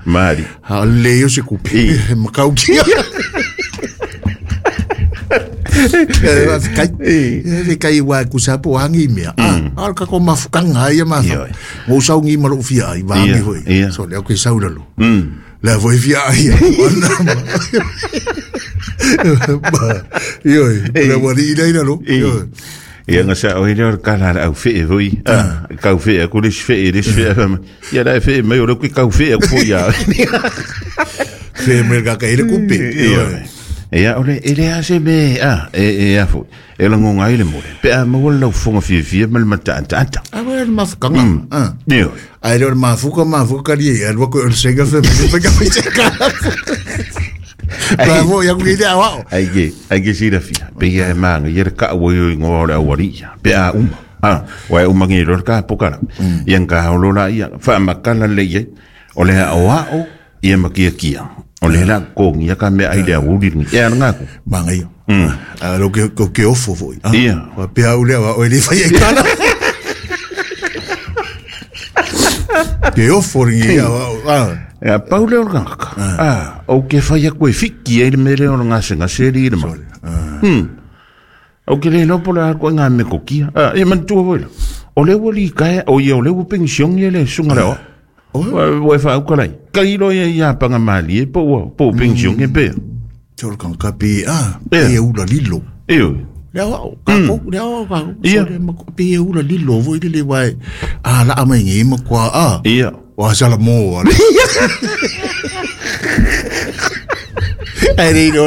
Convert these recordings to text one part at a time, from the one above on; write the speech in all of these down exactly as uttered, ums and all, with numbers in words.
Mali. A le yo se kupe. Makau kia. Kai e kai wa ku sa po hangi mea. A ka ko mafukanga ia ma. Mo sau ngi ma lo fia ai va ngi hoi. So le ko sau lo. La voi fia ai. Io le wari ida ida lo. Ia nga sa oi le kala au fe voi. Kau fe ku le fe le fe. Ia la fe me o ku kau fe ku ia. Fe me ka ka ile kupe. Ia ole ele a se me a e e a fo e la ngonga ile mo pe a mo la fonga fia fia mal mata ata ata a wel mafukanga a io a le mafuka mafuka li a lo ko senga fe me ka fe ka bravo ya ku ile a ai ke ai ke sira fia pe ia ma ngi ye ka wo yo ngo la wari pe a uma a wa uma ngi ro ka pokara ia ka lo la ia fa makala le ye ole a o ia makia kia o le la ko ngia ka me ai le uri ni e nga ku manga io a lo que ko ke ofo foi ia wa pe au le wa o le fai e kala ke ofo ni ia wa e a paule o nga ka a o ke fai ko e fiki e me le o nga se nga se ri ma hm o ke le no pola ko nga me ko kia a e man tu voi o le woli ka o ia o le pension ia le sunga le o o fa o kalai kai lo ia ia panga mali e po po pension e pe tol kan kapi a e ula lilo e le o ka ko le o ka so le ma pe ula lilo voi le wai a la mai ngi ma kwa a ia wa sala mo ai ri ro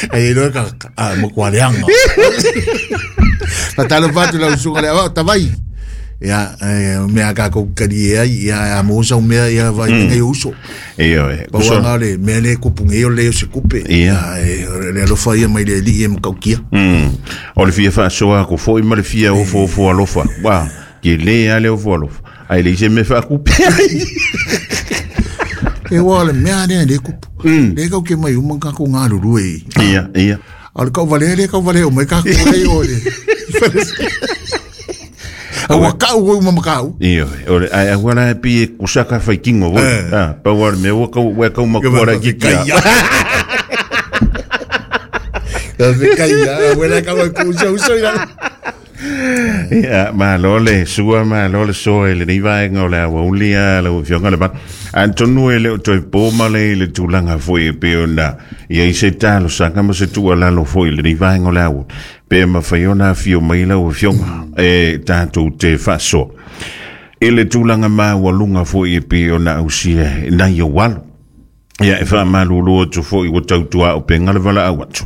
ai ro ka a mo kwa le anga ta lo va tu la usunga le o tavai ia me a ko kari ia a mo sa me ia vai ngai uso ia e ko nga le me le ko punge o le se kupe ia le lo fa ia mai le li e mo kia mm o le fia fa so ko foi ma le fia o fo fo alofa wa ke le ale o fo alofa ai le se me fa kupe e wa le me ale le kupu le ko ke mai uma ka ko nga lulu e ia ia al ko vale le ko vale o mai ka ko le o le Aua kau o uma makau. Iyo, ore ai agora pi kusaka fai kingo voi. Ah, pa war me o kau wa kau makora ki kia. Da fe kai ya, wela kau ku so so ya. Ia, ma lole sua ma lole so ele ni vai ngola wa ulia la fionga le ba. Antonu ele o toi po male le tulanga foi pe ona. Ia i se talo sanga mo se tua lalo foi le ni vai ngola wa. Pe ma faiona fio mai la fionga e tatou te faso. Ele tulanga ma wa lunga foi pe ona ausia na yo walo. Ia e wha malulu atu foi o tautua o penga le wala au atu.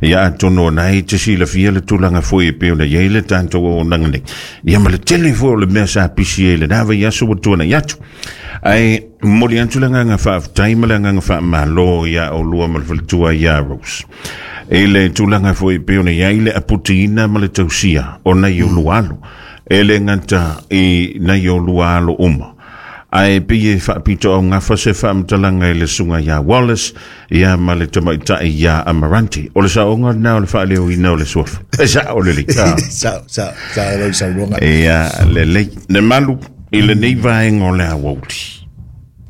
Ia atono na i te sila fia le tulaga foi e peo na iei le tātou o nanga nei. Ia ma le tele foi o le mea sa pisi e le nāwa i aso o tuana i atu. Ai moli atu le nganga whaaftai ma le nganga wha malo ia o lua ma le whaletua ia Rose. E le tulaga foi e peo na iei le aputiina ma le tausia o nei o lualo. E le ngata i nei o lualo uma. Ai pe whaapito au ngā whase whaamtalanga i le sunga ia Wallace ia ma le tamaitai ia Amaranti. O le saonga nā o le whaaleo i nā o le suafa. E sa o le li. Sa, sa, sa o le saonga. Ia le lei. Ne malu i le nei vaenga o le awauli.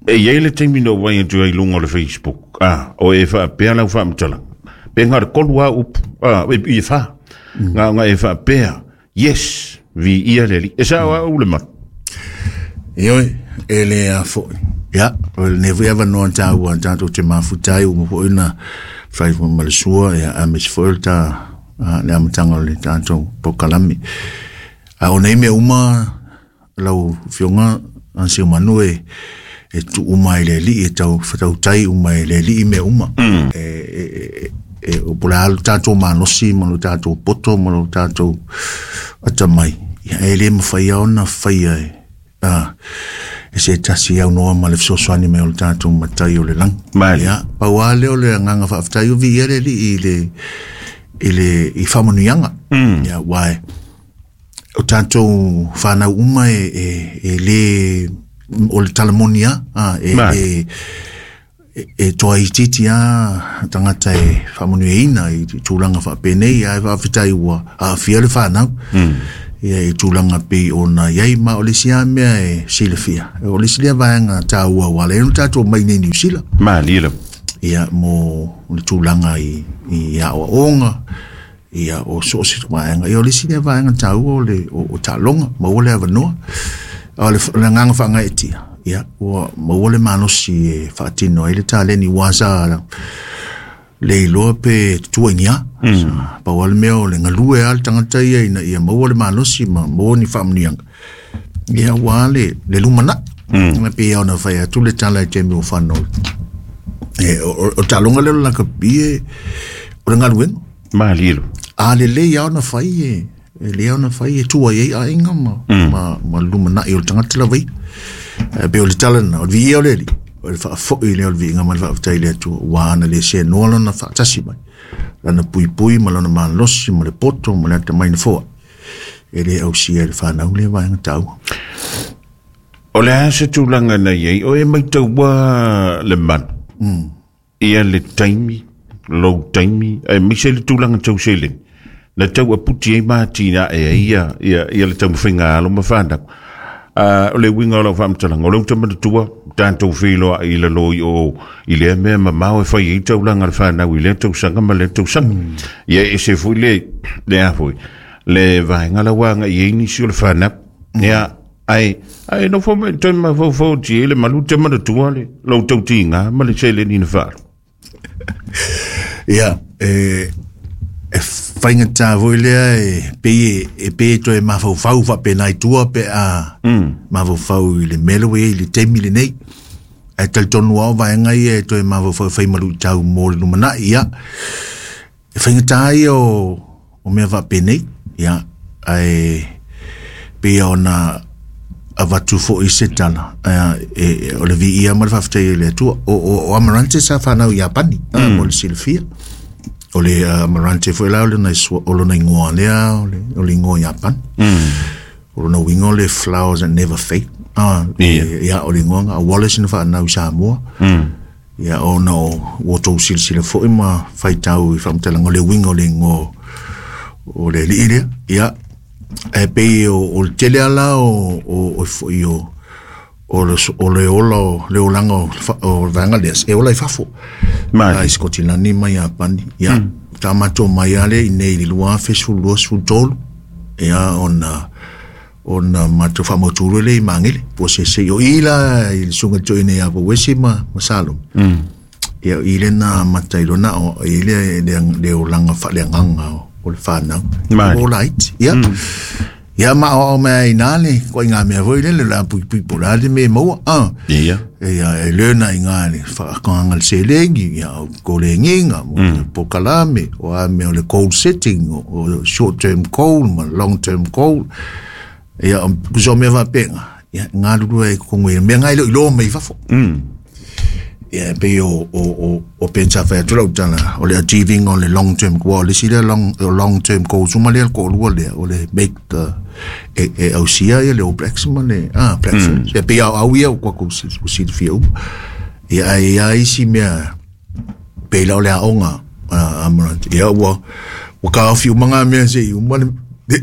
E iei le taimi no wai atu ai lunga o le Facebook. Ah, o e whaapea lau whaamtalanga. Pe ngā re kolu a upu. Ah, e i wha. Ngā ngā e whaapea. Yes, vi ia le li. E sa o a ule malu. Ioi. Ele a foi. Ya, ne vui ava noa tāua tātou te mafutai o mo ina fai mo malesua ya a mes foi ta le amatanga le tātou pokalami. A o nei me uma lau fionga an se manu e e tu uma ile li e tau fatau tai uma ile li me uma. E e e o pula tātou malosi mo tātou poto mo tātou atamai. Ya ele mo fai ona fai e. Ah, e se tasi au noa ma le fesoasoani mai o le tatou matai o le lagi. Ia, pau lava lea o le agaga faafetai o viia le alii i le i le i faamanuiaga. Ia, uae o tatou fanau uma e e e lē o le talamoni a e e e toa itiiti a tagata e faamanuiaina i tulaga faapenei ae faafetai ua aafia le fanau. Ia i tulaga pei ona i ai ma o le isi lava mea e silafia. O le isi lea vaega taua ua ala ai ona tatou mai nei Niu Sila. Malie lava. Ia mo le tulaga i, i aoaoga, ia o so o se vaega. Ia o le isi lea vaega taua o le o, o taaloga, maua le avanoa. O le, o le agaga faagaeetia, ia ua maua le malosi e faatino ai le taleni ua sa le iloa pe tutua i ni a. Mm. Pau lava le mea o le galue lava le tagata ia ina ia maua le malosi ma maua ni faamanuiaga. Ia ua le, le lumanai. Mm. Pei ona fai atu le tala i taimi o fanau. E, o, o, o taaloga lea o le lakapi e, o le galuega. Malie lava. A lelei lava ona fai e, e lelei lava ona fai e tua i ai aiga ma, mm. ma, ma lumanai o le tagata lava ia. E pei o le tala lena, o le viia o le Alii, o le faafoi lea o le viiga ma le faafetai i le Atua, ua ana le seanoa lona faatasi mai, lana puipui ma lona malosi ma le poto ma le atamai na foai, e le ausia e le fanau lea vaega taua. O le a se tulaga na i ai, o e maitaua le malu, mm. ia le taimi, lou taimi, aemaise le tulaga tau seleni, na tau aputi ai ma atinae ai ia, ia, ia le taumafaiga alo ma fanau. Uh, o le uiga o lau faamatalaga, o le uta manatua, tatou feiloai i lalo i o i lea mea mamao e fai ai taulaga a le fanau i lea tausaga ma lea tausaga. Mm. Ia ese foi le, le a foi, le vaega la ua agai ai nisi o le fanau. Mm. Ia, ai, ai nofo mai toe mafaufau ti le malu te manatua le lou tautiga ma le seleni na faaalu. Ia, e, e faigata foi lea e pei e pei e toe mafaufau faapena i tua pe a mm. mafaufau i le mea lea ua i ai i le taimi lenei. Ae talitonu lava o vaega ia e toe mafaufau e fai ma luitau mo le lumanai. Ia, e faigata ia o, o mea faapenei. Ia, ae pei ona avatu foi se tala e, e, o le viia ma le faafetai i le Atua. O, o, o Amarante sa fanau i Iapani, mm. mo le silafia. O le uh, Amarante foi la o lona o lona ingoa lea, o le, o le ingoa Iapani. Mm. O lona uiga o le flowers that never fade. Ah, Yeah. e, ia, o le ingoa a Wallace na whaanau i Samoa. Mm. Ia, ona o ua tou silasila foi ma faitau i faamatalaga o le uiga o le ingoa o le alii lea. Ia, e pei o, o le tele ala o, o, o foi o, o le, o le ola o le olaga o, o le vaega lea, e ola i fafo. Malie. Ai Skotilani ma Iapani. Ia, mm. ta matou mai lea i nei i le lua afe sefulu lua sefulu tolu. Ia, ona ona matou faamautū lea i Magele. Po se se o i la i le susuga toeaina ia Pauese ma, ma Salomo. Mm. Ia, i le na amata i lona o i le le, le olaga faaleagaga o, o le fanau. Malie. O laiti. Ia. Mm. Ia ma o mea i nā le koe ngā mea foi le le la pui pui po la le me maua. Ah. Ia. Ia e learna i ngā le whaakanga le selengi, ia o kolenginga, mo mm. po kalame, o a mea o le goal setting, o, o short term goal, ma long term goal. Ia o kuso mea whapenga, ia ngā lulua e kongo ia, mea ngai lo i loa mai fafo. Mm. Ia pei o, o, o, o pensa whai atu lau tala, o le achieving o le long term goal, o le si le long, long term goal, suma lea ko lua lea, o le make the, e, e ausia ia le All Blacks ma le, ah, Black Ferns. Mm. Ia pei au au ia o kwa ku silafia uma. Ia ai ia isi mea, pei la o le aonga, uh, Amarante. Ia ua, ua kaofi uma ngā mea se i uma le, le,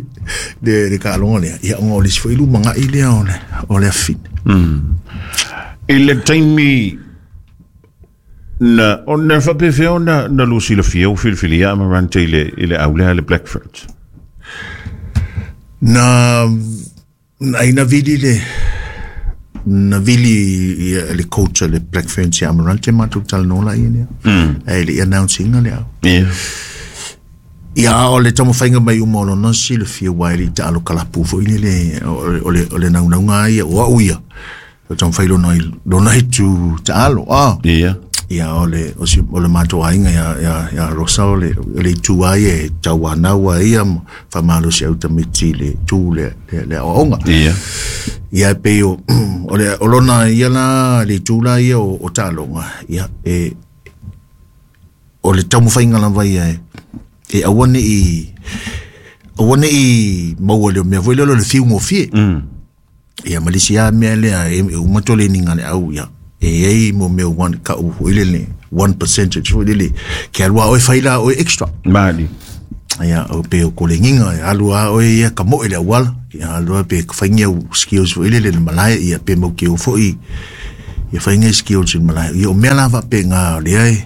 le, le kaaloga lea. Ia onga o le si foi luma ngai lea o le, o le afine. Mm. I le taimi na o na faapefea ona na lua silafia ua filifilia Amarante i le, i le aulea le Black Ferns. Na, na ina vili le, na vili ia le coach le Black Ferns ia Amarante matou talanoa la ia lea. Mm. Ai le announcinga lea. Yeah. Ia o le taumafaiga mai uma o lona silafia ua e le i taalo kalapu foi le le o le o le naunauga ia o au ia. O taumafai lona lona itu taalo. Ah. Yeah. Ia o le o si o le matou aiga ia ia ia Rosa o le o le itu ai e tauanau ai ia faamalosi au tamaiti le tu le le, le aoaoga. Yeah. Ia pei o o le o lona ia la le itu la ia o, o taaloga ia e o le taumafaiga lava ia e e aua nei aua nei maua le mea foi lea o le fiugofie. Mm. Ia ma le isi lava mea lea e e uma toleninga le au ia. E ai mo mea one ka'u foi lele one percentage foi lele ke alu a oe fai la oe extra. Malie. Ia o pe o kolenginga ia alu a oe ia ka moe le auala ia alu a pe ka whaingia u skills fo ile le malae ia pe mau ki o foi ia whaingia skills i malae ia o mea lava pe ngā lea e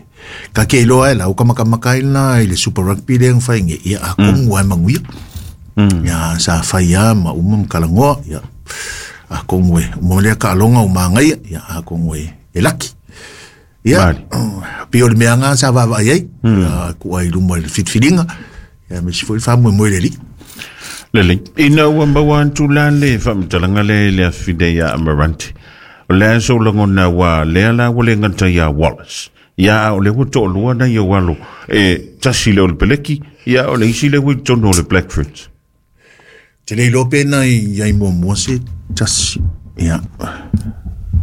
ka ke iloa e lau ka makamaka ina i le Super Rugby lea whaingia ia a kongu ai manguia ia sa whaia ma uma mkalangoa ia a kongu e mo lea ka alonga o maangaia ia a kongu e e laki ia pe o le mea ngā sa vava ai ai ku ai luma i le fitfilinga ia me si foi famu mo le li le ina ua maua atu la le faamatalaga le le afine ia Amaranti o le aso lagona ua lea la ua le gata ia Wallace ia o le ua to'alua na ia ualo e tasi le o le peleki ia o le isi le ua i totonu o le Black Ferns te le iloa pe na iai muamua se tasi ia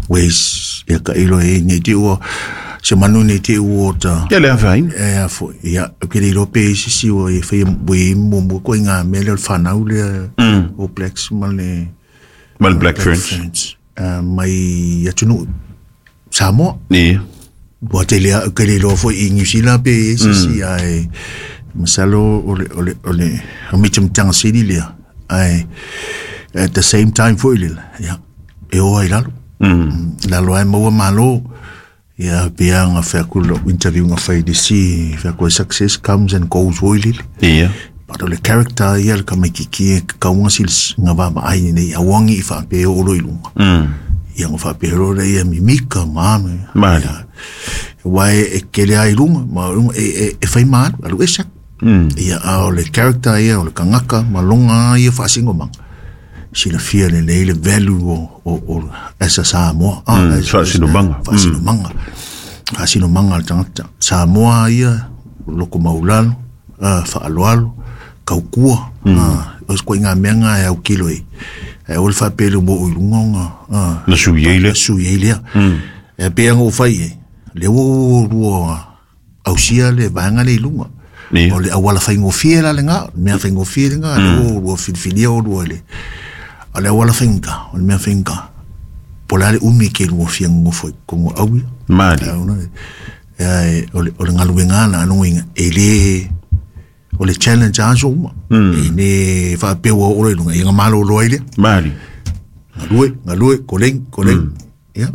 ways ia ka ilo e nei te ua se manu nei te ua ta ia le afaina e a foi ia ke le iloa pe isi si ua e whai ue muamua koe ngā mea lea o le whanau lea o Blacks ma le ma le Black Ferns mai atunuu Samoa ia ua te lea ke le iloa foi i New Zealand pe isi si ai masalo o le o le o le o mitamitaga sili lea ai at the same time foi le ia e oa i lalo lalo ai maua malo ia pia nga fai aku lo interview nga fai de si fai aku success comes and goes foi le ia but o le character ia le kamaikiki e kaunga sil nga va ai nei awangi i fa pe o lo ilunga ia nga fa pe ro le ia mimika mame mali wai e kele ai lunga ma e e e fai malu alu esa ia a o le character ia o le kangaka ma longa ia faasingo manga silafia lelei le value o o o asa Samoa ah faasinomanga faasinomanga faasinomanga le tagata Samoa ia loko maulalo faaloalo kaukua o se koiga mea ga e aukilo ai ae o le faapele mo o i luga oga na sui ai lea sui ai lea e pea ga ou fai ai lea ua lua ausia le vaega le i luga o le auala faigofie la lega mea faigofie lega lea ua lua filifilia o lua le o le auala faiga o le mea faiga po le a le umi ke lua fia gogofo i kogo auia mali e o le o le galuega na anogiga e lē o le challenge aso uma e ne faapea ua oo i luga ia gamalōlō ai lea mali galue galue koleng koleng ia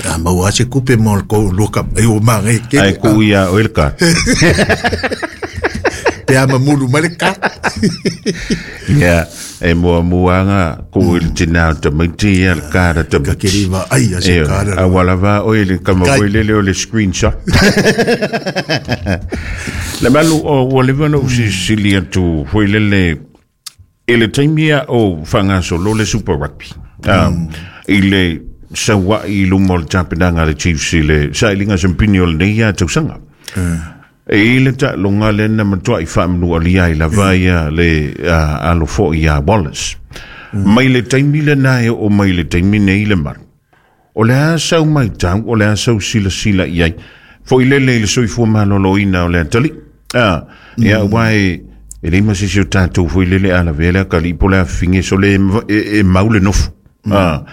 a maua se kupe mo le kou lua kapa ai o magai kele ai ku ia o le ka pe a mamulu mai le ka ia e muamuaga ku i le tinā o tamaiti ia le kara tamaiti kakeriva ai a se kara a walava o le kama o le o le screenshot le malu o ua leva na usisili atu foi lele i le taimi ia o faagasolo le Super Rugby i le saua'i i luma o le tapenaga a le Chiefs i le sailiga sampini o lenei ia tausaga e i le taaloga lea na matua'i faamanualia ai lava ia le alo fo'i ia Wallace mai le taimi lena e oo mai le taimi nei le malu o le a sau maitau o le a sau silasila i ai fo'i lele i le soifua malōlōina o le atalii a ia ua e e lei ma sisi o tatou fo'i lele a lavea le akalii po le afifige so le e mau le nofo ah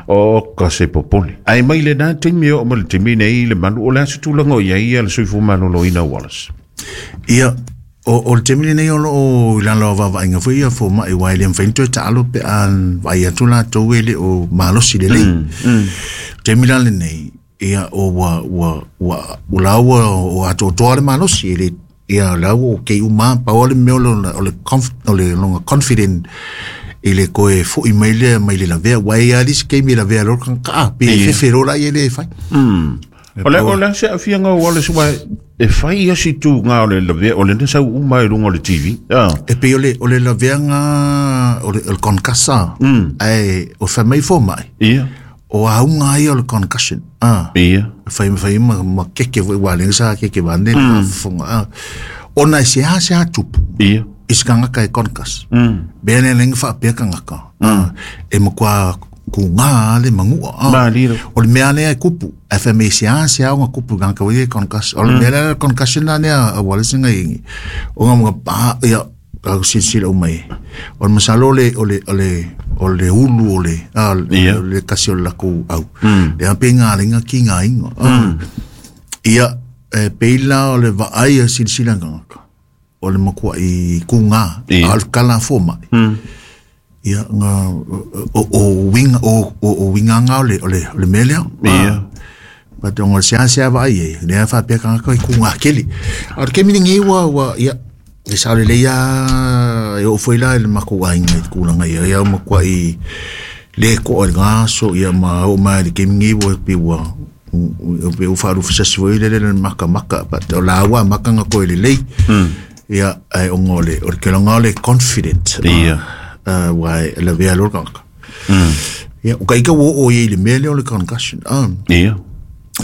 o ka se popole ai mai le na taimi o ma le taimi nei le malu o le a se tulaga o i ai ia le soifua malōlōina o Wallace ia o o le taimi lenei o loo i lalo o vaavaaiga foi ia fomaʻi uae le mafai ona toe taalo pe a vaai atu latou e le o malosi lelei taimi la lenei ia o ua ua ua ua laua o atoatoa le malosi e le ia laua o kei uma pau o le mea o le o le longa confident i le koe fo'i mai lea mai le lavea ua e ia lisi keimi lavea lo kanga pe fefe lo la ia le fai o le o le se afianga o Wallace ua e fai ia si tu ngā o le lavea o le na sau uma i lunga o le T V e pe o le o le lavea ngā o le concassa ai o fai mai fo mai ia o aunga ia o le concussion ia fai fai ma ma keke foi wa le sa keke va ne fonga ona se ha se ha tupu ia iskanga e concuss bene lenga fa pe kanga e makwa ku ngā le mangua o le mea lea e kupu F M A C A se au ngā kupu ngā ka wei concussion o le mea lea concussion la nea a wale singa ingi o ngā mga pa ia ka silasila uma e o le masalo o le o le o le o le ulu o le a le kasi o le lakou au le ape ngā lenga ki ngā inga ia e peila o le vaai a silasila ngā o le makua i kunga al kala foma ia nga o o winga o o winga nga o le o le o le melea ia pa tongo sia sia vai e le fa pe ka ko kunga keli o ke mi ngi wa wa ia e sa le ia e o foi la le makua inga kulanga ia ia makua i le ko o nga so ia ma o ma le ke mi ngi wa pe wa o pe o fa ru fa se le le maka maka pa o la wa maka nga ko le le ia ai o ngole o ke longa le confident ia uh wai la vea lo ka mm ia o kai ka wo o ye le mele o le concussion um ia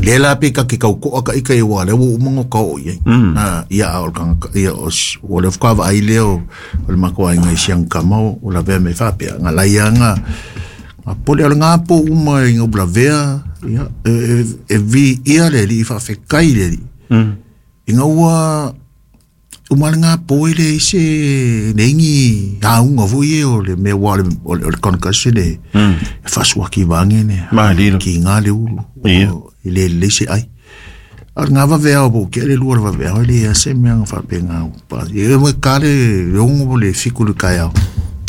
le la pe ka ke ka ko ka ika e wa le wo mo ka o ye ah ia o ka ia o o le ka va ile o le mako ai ngai siang ka mo o la vea me fa pe nga la ia nga a pole o nga po uma i nga vea ia e e vi ia le li fa fe kai le li mm i nga ua o malanga po ile se nengi a unga voi o le me wa le o le concussion le faswa ki vange ne ki nga le ulu ile le se ai al nga va vea bo ke le lu va vea le se me nga fa pe nga pa e mo ka le yongo le fiku le kaya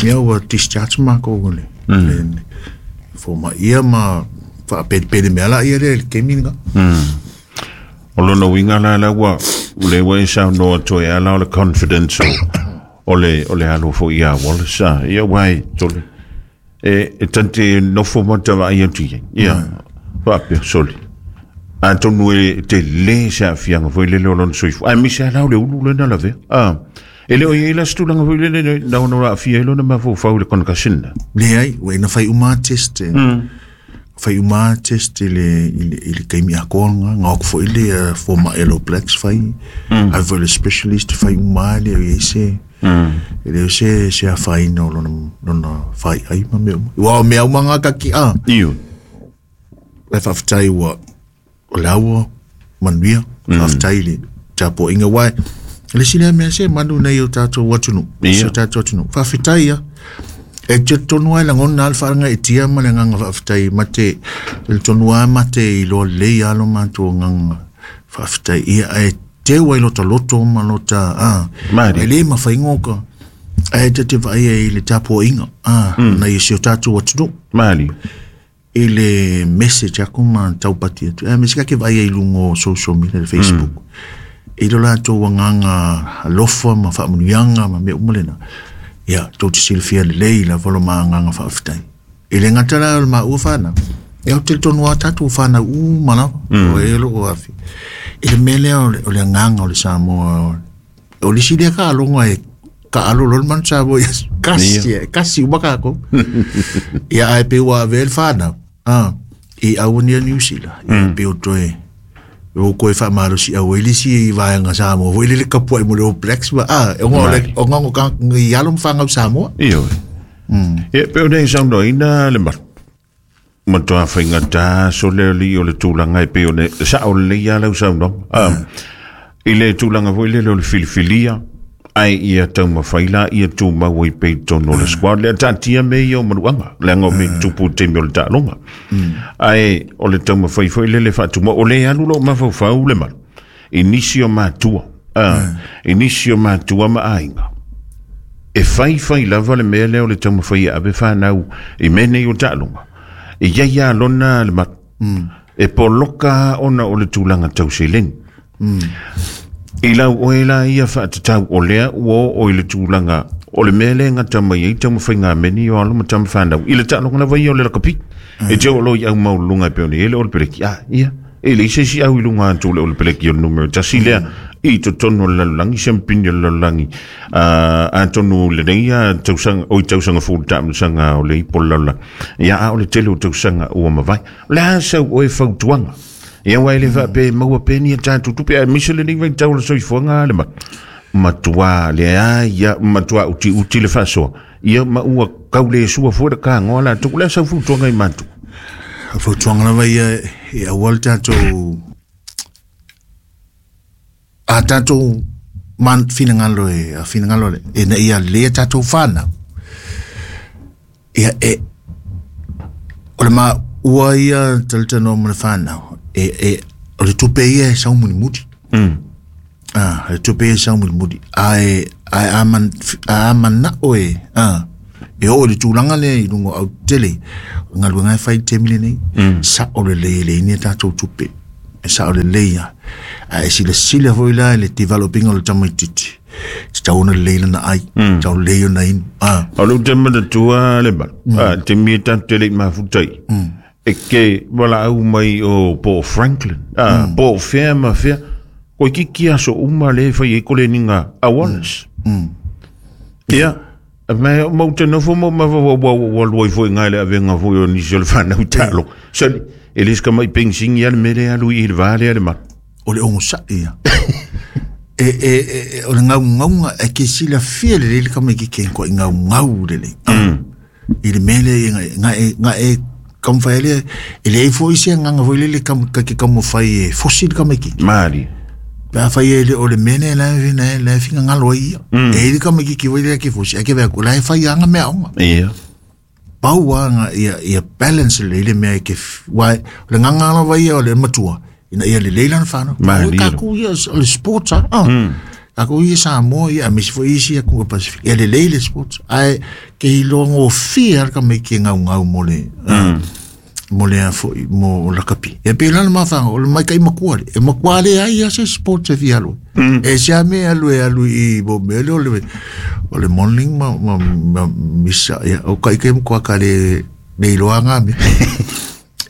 me o discharge ma ko le fo ma ia ma fa pe pe me ala ia le ke mi nga o lona winga la la ua le ua sa no to e ala o le confidence o le o le alo fo ia Wallace a ia wai tole e e tante no fo mo ta vai atu ia fa pe soli a tonu e te le sa fianga foi le le lon soifo ai mi sa la le ulu le na la ve a e le o ia la stulanga foi le le na no la fia lo na ma fo fa le concussion le ai we na fai uma test fai uma test ile ile ile kaimi akonga ngok fo ile forma eloplex fai mm. A le specialist fai uma le ese mm. Ile se se fai no no no fai ai ma me wa me uma nga ki a iyo le fa fai wa lawa manuia fa fai le tapo inga wai le sile me se manu nei o tato watunu se tato watunu fa fai ya e te tonu ai langona al whaanga e tia ma le nganga whaaftai mate le tonu ai mate i loa lei alo mato nganga whaaftai ia e te wai lota loto ma lota a e le ma whaingoka e te te vai e le tapo inga a na i se o tātou watunu Mali i le message ako ma taupati atu e me sika ke vai e lungo social media le Facebook i lo lato nganga alofa ma whaamanuianga ma me umalena ia tō te silfia le lei la volo maa nganga whaaftai. I le ngata la o le maa ua whana. E au te tonu a tātou whana u manawa. O e lo o afi. I le melea o le, o le nganga o le Samoa. O le silia ka alonga e ka alo lol man Samoa. Kasi, kasi umaka ako. Ia ai pe ua vel whana. Ah, i awani a New Zealand. I pe o toe. O koe wha marosi au e lisi i vaenga Samoa. Foi lele kapua i mo le o Blacks ma. Ah, o ngongo ka ngi alo mwhanga Samoa. Iyo. E pe o nei sauno ina le maru. Matoa whainga tā so leo li o le tūlanga e pe o ne sa o le ia lau sauno. I le tūlanga foi lele o le filifilia ai ia taumawhaila ia tū maua i pei tono le squad le tātia me ia o manuanga le anga o me tupu te me o le tālonga ai o le taumawhai foi lele whaatuma o le alu lo mawhauwhau le maru i nisi o mātua i nisi o mātua ma ainga e whai whai lava le mea leo le taumawhai a awe whanau i mene o tālonga i ia ia lona le maru e poloka ona o le tūlanga tauseleni I lau oe la ia whaatatau o lea ua o i le tūlanga o le mea le ngata mai ei taumawhai ngā meni o alo ma tamawhanau. I le tālonga lava ia o le lakapi. E te o lo i au maulunga e peone ele o le peleki. Ah, ia. E le ise si au i lunga atu le o le peleki o le numero. Tasi lea i totonu o le lalulangi, siampini o le lalulangi. A tonu le nei a tausanga, o i tausanga fūlu tāmasanga o le ipo le lalulangi. Ia a o le tele o tausanga ua mawai. O le asau o e fautuanga. Ia wai le wha maua peni a tātou tupe a misa le nei vai tau le soifuanga le ma matua le a ia matua uti uti le whasoa ia ma ua kau le sua fua ka ngoa la tuku le sau futuanga i matu a futuanga lava ia e awal tātou a tātou man finangalo e a finangalo le e na ia le tātou whana ia e o le ma ua ia talita no mo le whanau e e o le tupe ia e saumuni muti. Mm. Ah, le tupe e sau mulimuli. Ae ae a man a mana'o e ah e oo i le tulaga lea i luga o autele o galuega e fai i le taimi lenei sa'o lelei e leai ni a tatou tupe e sa'o lelei a ae silasila foi la i le developing o le tamaititi tatau ona lelei lana ai tatau lelei ona inu ah O lou te manatua le malu. Ah, te mi e tatou te le i mafuta ai. E ke valaau mai o po o Franklin. Ah, po o fea ma fea. Koe kiki aso uma le e fai ai koleniga a Wallace. Ia, me mau te nofo mo ma wa wa wa lua i foi ngai le avenga foi o nisi o le whanau talo. Sali, e le ska mai pengsing ia le mele alu i le vale le malu. O le ogosa'i ia e e e o le gaugauga e ke silafia lelei le tamaititi e ko'i gaugau lelei i le mea lea ga e ga e taumafai ai lea e leai foi se agaga foi lele ka ke taumafai e fosi le tamaititi Mali. pe afai e le o le mea lea la e la e la e finagalo ai ia e i le tamaititi foi lea ke fosi ae ke vea la e fai aga meaoga Ia. pau aga ia ia balance lelei le mea e ke uae o le gaga lava ia o le matua ina ia lelei lana fanau Malie. takou ia o le sports a ah takou ia Samoa ia aemaise foi isi atunuu o le Pasifika ia lelei le sports ae ke iloa gofie a le tamaiti e gaugau mo le mo le a foi mo lakapi e pe lana mafaga o le maika'i matua le e matua leai a se sports e fia alu ai e se a mea e alu e alu i mo mea lea o le o le modeling ma ma ma misa ia o kaʻi matua ka le le iloa ga mea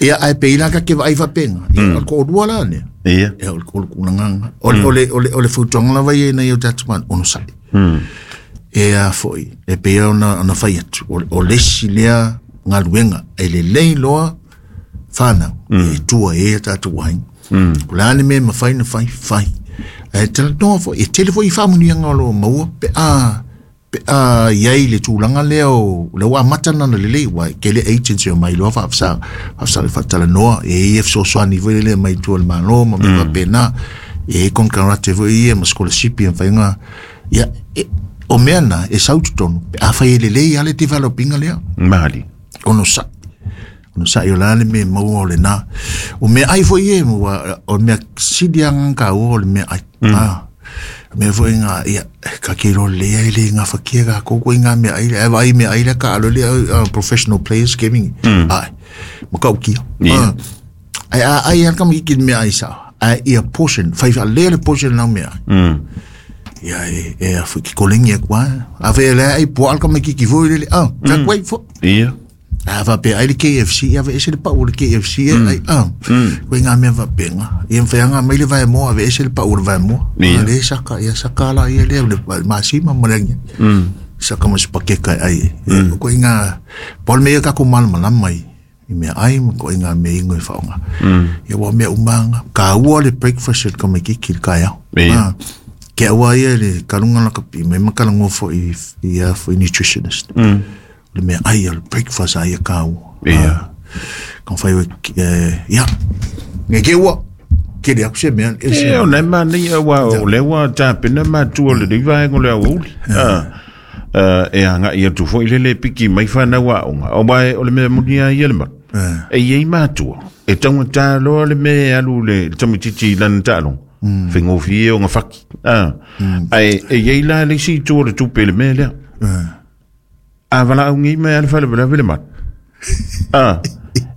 ia ae pei la ka ke vaai faapega ia o le to'alua la lea Ia. ia o le o le tulagaga o le o le o le o le fautuaga lava ia ina ia o tatou mana onosa'i e a foi e pei ona ona fai atu o o le isi lea galuega e lelei loa fanau e tua e ia tatou aiga o le a le mea e mafai ona fai fai ae talanoa foi e tele foi i faamanuiaga o loo maua pe a pe a iai le tulaga lea o le ua amata lana lelei ua e tele agency o mai loa faafesa faafesa faatalanoa e ia fesoasoani foi lele mai tua o le malo ma mea faapena e i konekarate foi ia ma scholarship ia mafaiga ia e, o mea na e sau totonu pe afai e lelei a le developinga lea Mali. onosa'i onosa'i o le a le mea e maua o lenā o meaai foi e ua o le mea sili aga kaua o le meaai ah mea foi ngā ia ka ke iloa lelei ai le gafatia takou koe ngā meaai lea ae vaai meaai lea taalo lea uh, professional players gaming ai makaukia Ia. ai a ai a tamaititi i le meaai sa'o ae ia portion fai faalelei le portion lau meaai ia e e a foi ki kolengi aku a a fe le ai po al tamaititi foi lele ah ka kwai fo Ia. a faapea ai le K F C ia aveese le pau o le K F C e ai ah koe ngā mea faapenga ia mawhaianga mai le vaemoa aveese le pau o le vaemoa Ia. a le saka ia saka la ia lea le masima ma le agia saka ma se pakeka e ai e koe ngā pau le mea kako malamalama i i mea ai ma koe ngā mea ingo e whaonga ia ua mea umanga ka ua le breakfast e le tamaititi i le kaeao Ia. Ah, ke aua ia le kalunga la kapi me makala ngofo i i a foi nutritionist le mea ai o le breakfast ai a kau Ia. ka whai o ia nge ke ua ke le aku se mea e se E o nei mani a wa o le wa tapena matua le riva e le auli. Ah. E anga ia tu foi lele piki mai whanau a onga. O mai o le mea muni a ia le malu. E iei matua. E taunga tāloa le mea alu le tamititi i lana tālonga. Whengofi e o ngā whaki. Ah. Ai, e iei la le si tua le tupe le mea lea. A wala au ngi mea le whale wala wale mat. Ah.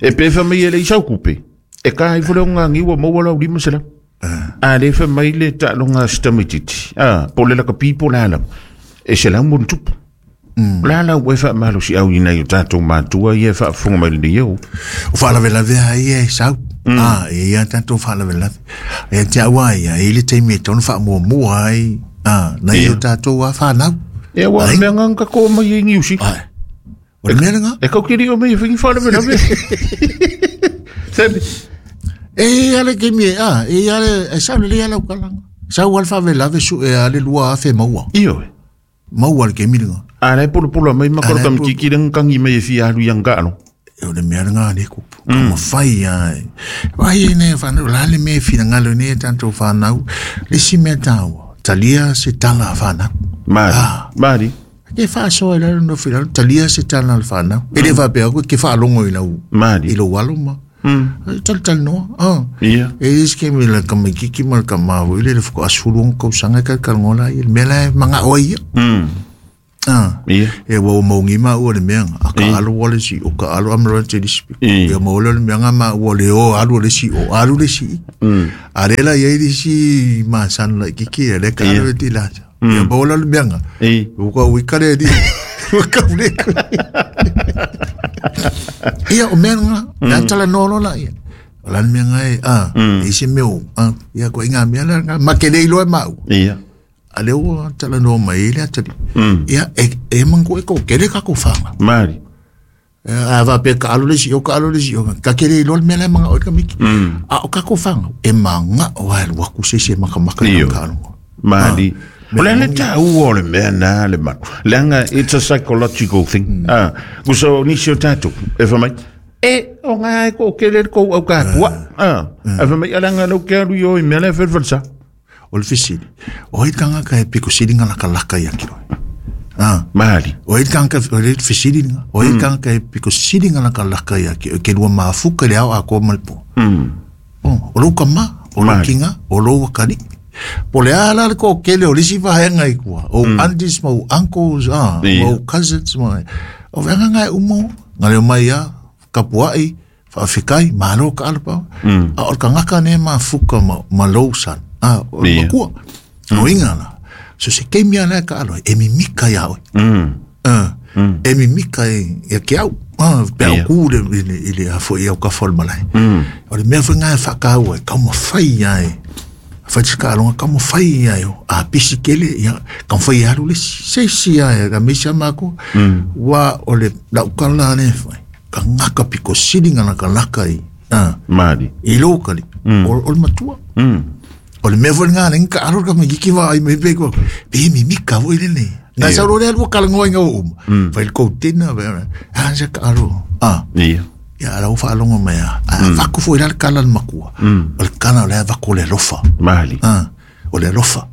E pe wha mai e le isau kupe. E ka hai fole o ngā ngiwa maua lau lima sela. A le wha mai le tālonga sitamititi. Ah. Po le laka pipo la alam. E se lau mun tupu. La la ue wha malo si au ina i o tātou mātua ia wha funga mai le iau. O faalavelave ai e sau ah e ia tātou faalavelave e te aua ia e le taimi e tonu faamuamua ai ah na i o tātou a whanau E wa Ai. mea nganga ko mai e ngiusi. ai o le mea lenga E kau kiri o mai e whingi whaalavelave. Sabi, e ale ke mi ah e ale e sau le ala kalanga sau al faalavelave su e ale lua afe maua iyo e. maua le ke mi lenga A le pula pula mai makoro A le tamititi le ngangi mai e fia alu i anga alo. e o le mea lenga le kupu ka mawhai ai vai e ne whanau la le mea whinangalo ne tātou whanau le si mea tāua talia se tala a whanau Mari, Ah. mari. Ke whaasoa i lalo no whiralo, talia se tala a whanau. E le whapea koe, ke whaalongo i lau, Mari. i lau alo ma. Tal tal no. Ah. Ia. E is ke mi la ka mai kiki ma ka ma wo ile le fo asulu on ko sanga ka ka ngola ile me la manga o ia. Mm. Ah. Ia. E wo mo ngi ma o le mea a ka alu wale si o ka alu amro te dispi. Ia mo le mea ma o le o alu le si o alu le si. Mm. A le la ia si ma san la kiki le ka alu ti la. Ia mo le mea. E. O ka wi ka le di. O ka le. Ia o mea nga, mm. tala no la ia. O la mea nga e, ah, mm. e se meo, ah, ia ko inga mea la nga, ma ke nei loe mau. Ia. A leo tala no mai le atali. Mm. Ia, e, e mangu e ko kere ka ko whanga. Mari. A va pe ka alu le si, o ka alu le si, o ka kere loe mea la manga o ka miki. Mm. A o ka ko whanga, e manga o ai waku se se maka maka Iyo. ka alu. Mari. O le le ta ua o le mea nā le manu. Leanga, it's a psychological thing. Ah, kuso nisi o tātou, e whamai, e, o ngā e ko kere ko au ka kua. Ah, e whamai, alanga lau ke alu i o i mea le whelwhelsa. O le fesili, o hei tanga ka e piko sili ngā laka laka ia kiro. Ah. Mari. O hei tanga o le fesili ngā, o hei tanga ka e piko sili ngā laka laka ia kiro, ke lua maafuka le ao a koa malipo. Mm. O lou kama, o lou kinga, o lou wakari. Po le ala le ko kele o lisi vahenga i kua. O mm. aunties ma o uncles, ah, yeah. ma o cousins, ma o venga ngai umo, ngā leo mai a, kapuai, whaawhikai, malo ka alapau. Mm. A o ka ngaka ne ma fuka ma, ma lou san, ah, o Yeah. makua. Mm. O inga la. So se keimia le ka alo, e mimika ia oe. Mm. Ah, mm. E mimika e, e ke au. Ah, pe au Yeah. ku le, i le, i le afo i au ka fol malai. Mm. O le mea whangai whakaua, ka mo whai ai. Whai alonga ka mo whai ai o. A pisi kele, ia, ka mo whai aru le se si ai, ka misa mako. Mm. Wa o le lau kala ne whai. Ka ngaka piko siringa na ka laka i. Ah, Mari. i lōkali. Mm. O, o le matua. Mm. O le mea whai ngā ngā aro ka me kiki wā ai me pe ko. Pe mi mika wo ile ne. Nā Ia. sa ro le alua kalangoa i ngā o uma. Whai le koutina, whai, ah, sa ka aro. Ah. Ia. Ia ala ufa alongo mai a. A vaku fo ila kala le makua. O le kana o le vaku le lofa. Mali. Ah, o le lofa.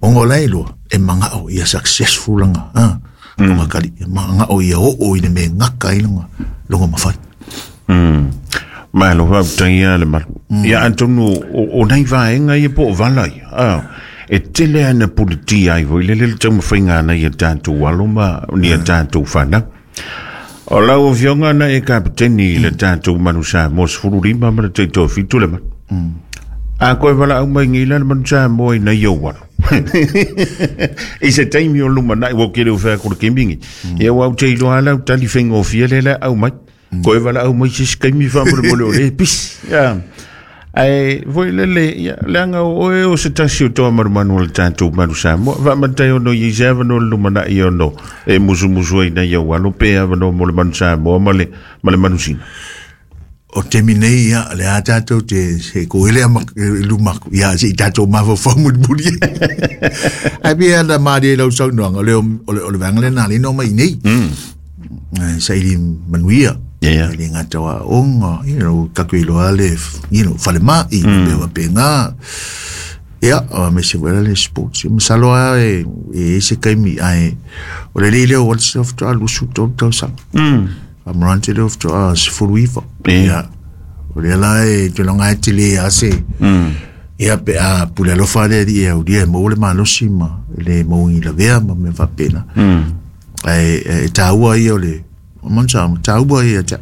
Ongo lai lo e manga o ia successful langa. Ah. Longa kali e manga o ia o o i le me ngaka i longa longa mawhai. Mm. Malo wau tangia le malu. Ia Antonu, o, o nei vaenga ia po o vala ia. Ah, e tele ana politi ai voi le le tau mawhainga ana ia tātou alo ma ni a tātou whanau. O lau o fionga na e kapiteni i le tātou manu sa mo sefulu lima ma le teitoa fitu le manu. A koe wala au mai ngila le manu sa mo i nei au walo. I se taimi o luma nai wo kere o whea kore kemingi. Ia wau te iloa lau tali whenga o fia le le au mai. Koe wala au mai se skaimi whamore mole o le pis. Ia. Ai, voi lele, ia, leanga o oe o se tasi o toa marumanu o le tātou manu Samoa. Wa matai ono i se awano le lumana i ono e musu musu ai nei au alo pe awano mo le manu Samoa ma le, ma le manu sina. O te minei ia le a tātou te se ko hele ama lumaku ia se i tātou mawhawhau muri muri. Ai pia la maari lau sau noanga le o le o le vanga le nā le no mai nei. Mm. Sa ili manuia. Yeah. Le ngā tawa onga, you know, kaku iloa le, you know, whale mai, mm. pewa pe ngā. Ia, o me se wera le sports. Masalo a e, e se kaimi ai. O le lele o wale se ofto a lusu tolu tau sang. Mm. Amrante le ofto a se fulu iwa. Yeah. Ia. O le la e, te longa e te le a se. Mm. Ia pe a pule alofa le di e au dia e mo le malosi ma le mo i la vea ma me whapena. Mm. E, e tāua ia o le, o mansa, tāua ia ta.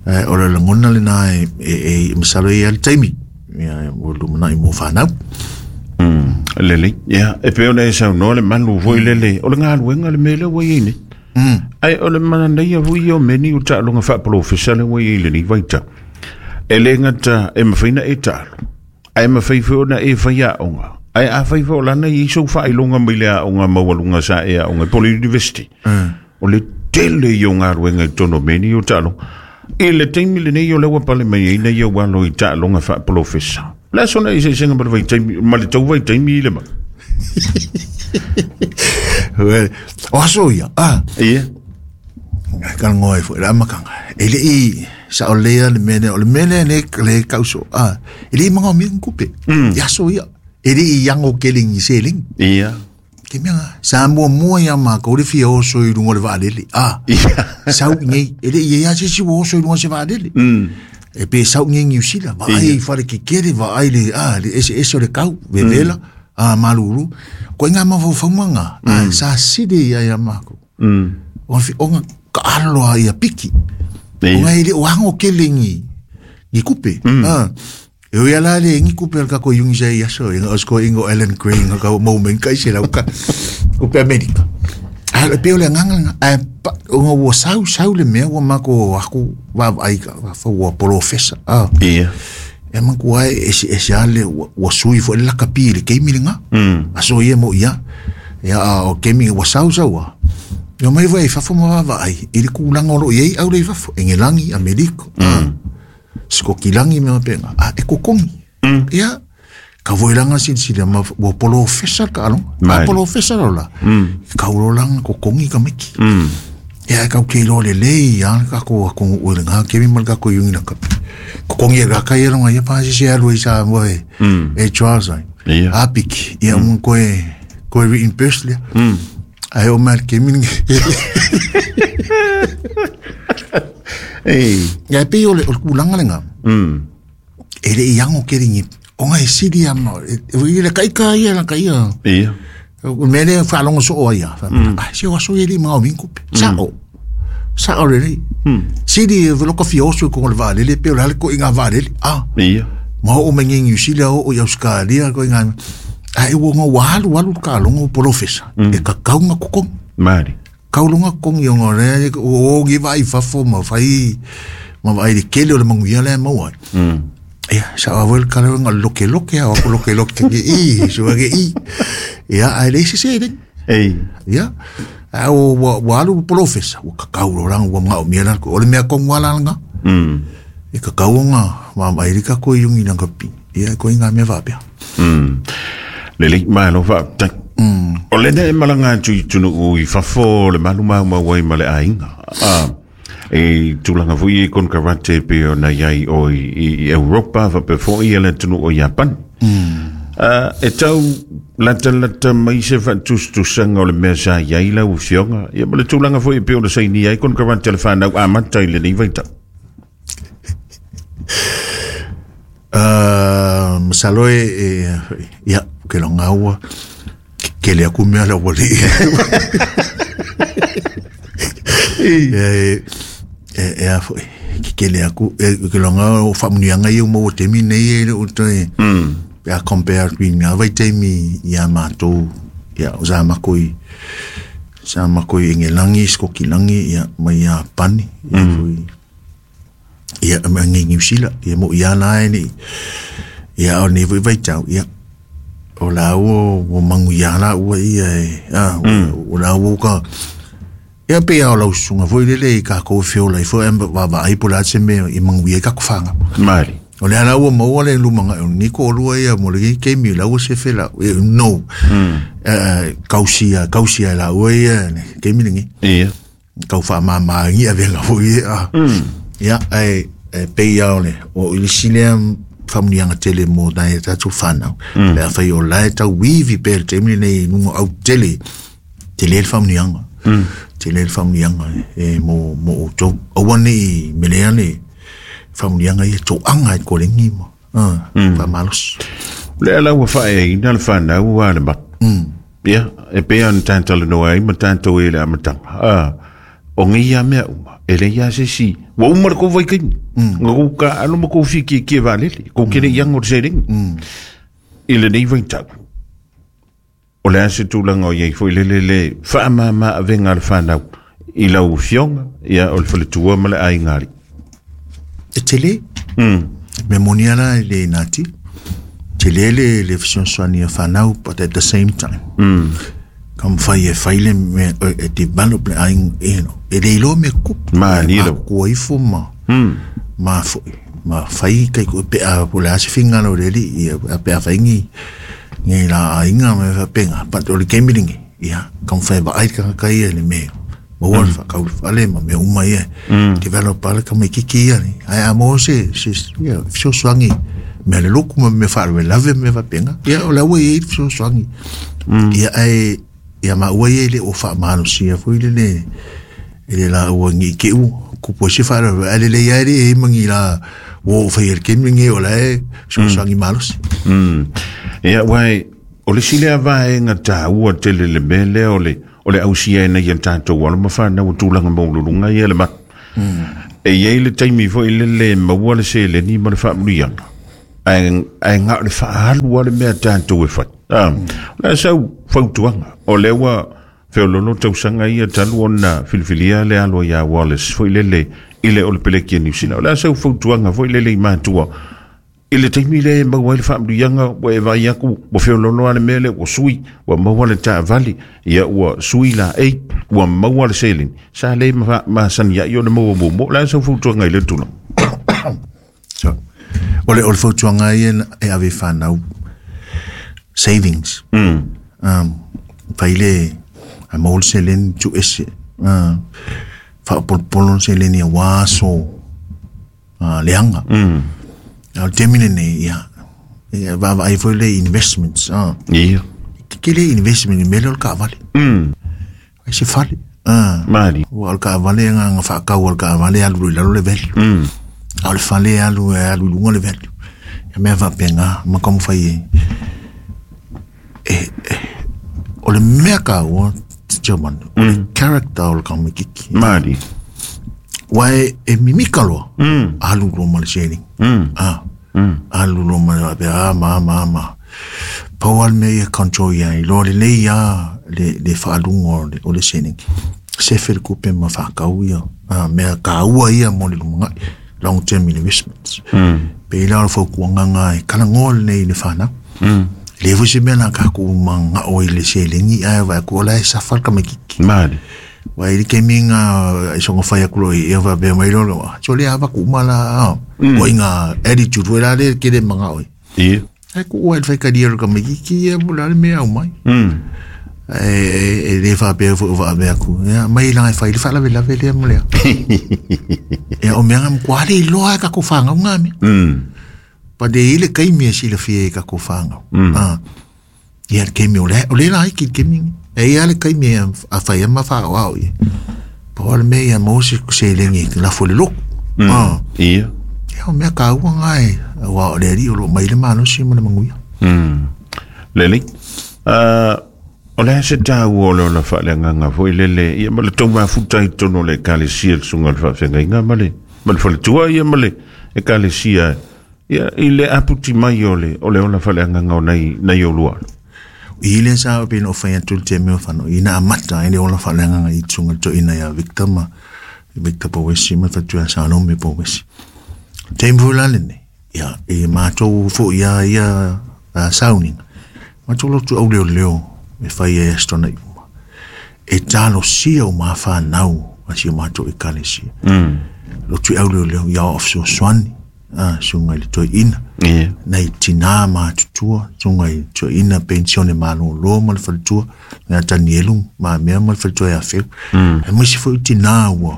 E, o le langona le nā e, e, e masalo ia le taimi. Ia, o lumana i mō whanau. Mm. Lele, ia, e pe ona e sau noa le malu voi lele, o le ngā luenga le mele wai ei nei. Mm. Ai, o le mana nei a vui o meni o tālonga whaapolofesa le wai ei le ni waita. E le ngata e mawhaina e tālo. Ai mawhai whiona e whai a onga. Ai a whai whio lana i sau whailonga mai le a onga maualunga sa e a onga Poli University. Mm. O le tele i o ngā ruenga i tono meni o tālonga. I le taimi le nei o lewa pale mai ei nei o walo i tālonga whaapolofesa. La sona i se senga ma le vai taimi, ma le tau vai taimi i le ma. O aso ia, ah, Ia. ka ngoi fo la makanga. E le i sa o le le mene o le mene ne le kauso. Ah, e le manga mi kupe. Ya so ia. E le i yango keling i seling. Ia. Ke mea, sa mua mua ia ma ka ore fia oso i runga o le vaalele. Ah, Ia. sau nei, e le i ia se si oso i runga se vaalele. Mm. E pe sau ngi New Zealand va ai fale ke kere va ai le a le ese ese o le kau vevela a malulu ko nga ma fo fanga a sa sidi ia ia mako o fi o ka alo ia piki o ngai le o hango kelengi ni kupe a e o ia la le ngi kupe ka ko yungi sai ia so inga osko ingo Ellen Green ka moment kai se la ka kupe Amerika a le pe o le nganga a o o sau sau le mea ua mako aku va ai ka fa ua polofesa a ia e manku ai ese ese ale ua sui fo le lakapi le keimi lenga a so ia mo ia ia o keimi ua sau sau a yo mai vai fa fo ma va ai i le kulanga lo iei au le fa fo engelangi Amerika skokilangi me penga a e kokongi ia ka voilanga silsila ma ua polofesa ka alonga a polofesa la ka ulolanga kokongi ka meki ia ka ke lo le le ia ka ko ko o le nga ke mi mal ka ko yungi na ka kokongi ka ka ia longa ia pa se alu isa mo e e Charles ai apik ia mun ko e ko e in personally ai o mal ke mi ei ia pe o le kulanga lenga e le iango ke ringi o ngai sidi ama e le kai ka ia la kai ia ia o mele fa longo so o ia ah si o so ele ma o minko sa o sa o le sidi velo ko fioso ko le vale le pe o le ko inga vale ah ia ma o mengi New Zealand o Australia ko inga a e wo walu walu ka longo profesa e ka kaunga ko mari kaulunga kong yo ngore o gi vai fa fo ma fai ma vai le kele o le manguia le mo ai ia sa a vol kala nga loke loke a ko loke loke ke i so ke i ia ai le se se ei ia a o walu profesa o ka kaulo rang o nga o mia ko o le mea kong wala nga mm e ka kaunga ma mai ka ko yungi na ka pi ia ko inga me va pia mm le le ma lo fa o le ne malanga tu tunu i fafo le maluma ma wai ma le ainga a e tulanga fui kon karate pe o na iai o i Europa fa pe fo i le tunu o Japan mm e tau lata lata mai se fa tus tusanga o le mea sa iai la ufionga ia ma le tulanga fui pe o le saini ai kon karate le whanau a mata i le nei vaitau uh, masalo e ia ke longa ua ke le aku mea la wali e e a foi ke le aku ke longa o famuianga i mo temi nei e o te a compare with nga vai temi ia matou ia o za makoi sa makoi engelangi skokilangi ia mai ia pani ia foi ia ma ngi New Zealand ia mo ia la ni ia o ni vai vai tau ia o la o o manguia la ua ia e a o la o ka ia pe ia o lau sunga foi lele ka ko fiola i foi va va ai pula se me i manguia ka ko fanga mari o le ala ua maua le lumanga o ni ko lua ia mo le ke mi la ua se fela no eh kausia kausia la ua ia ke mi ngi ia kau fa ma ma ngi a venga foi a ia ai pe ia o le o ile sile famuianga tele mo nai tātou whanau. Mm. Le awhai o lae tau wivi pēr te mini nei nungo au tele, tele le famuianga. Mm. Tele le famuianga e mo, mo o tau. Aua nei melea le famuianga ia tō anga e kolengi mo. Uh, mm. Whamalos. Le ala ua whae e ina le whanau ua le mat. Mm. Ia, e pēa na tāntala noa ai ma tāntau e le amatanga. Ah, o ngai ia mea uma. E le ia se si. Wa uma le kou vai kaimi. Nga kou ka alo ma kou fiki ki e valele. Kou kere iango te serengi. I le nei vai tau. O le ase tūlanga o iei foi le le le whaamama a venga le whanau. I lau fionga, ia o le whaletua ma le ai ngari. E tele? Mm. Me moni ala le nati. Tele le le fesoasoani a whanau, but at the same time. Mm. Kam fai e faile me e develop le ai e no e le ilo me kupu ma ni lo ko ifo ma ma fo ma fai kai ko pe a po la se finga lo le li a pe a fai ngi ngi la inga me fa penga pa o le kemilingi ia kam fai ba ai ka kai le me mo wa fa ka ale ma me uma ia develop ala ka me kiki ia ni ai a mo se se ia so swangi me le loku me fa le lave me fa penga ia o la we so swangi ia ai ia ma ua ia le o wha mano sia fui le le le la ua ngi ke u ku po si wha ale le ia le e mangi la Ua ou faia i le taimi lenei o la e fesoasoani malosi. Ia uae o le isi lea vaega taua tele le mea lea o le o le ausia ina ia tatou alo ma fanau o tulaga maululuga ia le matu. E iai le taimi foi lele maua le seleni ma le faamanuiaga ae ae gao le faaalu a le mea tatou e fai. Ah, o le a sau fautuaga o lea ua feololo tausaga ia talu ona filifilia le alo ia Wallace foi lele i le o le peleki a Niu Sila. O le a sau fautuaga foi lele i matua i le taimi lea e maua ai le faamanuiaga ua e vaai atu ua feololo a le mea lea ua sui ua maua le taavale ia ua sui laei ua maua le seleni sa le masani ai ona maua muamua. O le a sau fautuaga i le tulaga? So, o le o le fautuaga ia e ave i fanau savings. Mm. Um, fai le a maua le seleni tuuese uh, faapolopolo le seleni auā aso uh, leaga. Mm. A o le taimi lenei ia ia vaavaai foi le investments ah. Ia. Tetele investment i mea lea o le kaavale. Mm. Ai se fale. Ah. Mali. Ua o le kaavale agaga faakau o le kaavale e alu i lalo le value. Mm. A o le fale e alu e alu i luga le value. Ia mea faapena ma taumafai e e e o le mea taua Chairman, o le character o le tamaititi. Mali. Ua e, e mimika loa. Mm. Alu loa ma le seleni. Mm. Ah. Mm. Alu loa ma le a ma ma ma. Pau lava le mea ia control ia iloa lelei a le le faaluga o le o le seleni. Sefe le tupe ma faakau ia ah, mea taua ia mo le lumanai long term investments. Mm. Pei la o le fautuaga ga e talanoa lenei i le fanau. Mm. E le foi se mea na tatou magao i le seleni ae vaai atu o la e safa le tamaititi. Mali. Ua i le taimi ga e soga fai atu loa i ia faapea mai loa loa, so le avatu uma la ah. O inga attitude foi la lea ke le magao ai. Ia. Ae kuua i le faitalia o le tamaititi ia po o le a le mea e aumai. Mm. E, e, e le faapea foi o faapea atu, ia mai laga e fai le faalavelave lea ma lea. Ia o mea ga matua le iloa e tatou fanau ga mea. Mm. But e i le taimi e silafia e tatou fanau. Mm. Ah. Ia le taimi o le o le laiki le taimi lenei. E i ai le taimi e a fai ai ma faaoao ia. Pau lava le mea ia maua se seleni e lafo i le lotu. Mm. Ah. Ia. Ia o mea taua ga e auā o le Alii o loo mai le malosi ma le manuia. Mm. Lelei. Uh, o le a se taua o le ola faaleagaga foi lele ia ma le tou mafuta i totonu o le ekalesia le susuga o le faafeagaiga ma le ma le faletua ia ma le ekalesia ia i le aputi mai o le o le ola faaleagaga o nai nai olua. I le sa o pei ona ou fai atu i le taimi o fanau ina amata ai le ola faaleagaga i susuga i le toeaina ia Victor ma Victor Powesi ma le faletua ia Salome Powesi. Taimi foi la lenei ia e matou foi ia ia sauniga matou lotu auleoleo e fai ai aso tonai uma. E talosia uma fanau a si o matou ekalesia. Mm. Lotu auleoleo ia o fesoasoani ah, susuga i le toeaina. Ia. Nai tinā matutua, susuga i le toeaina pensione malōlō ma le faletua, ia Tanielu Mamea ma le faletua ia Feu. Mm. Aemaise foi tinā ua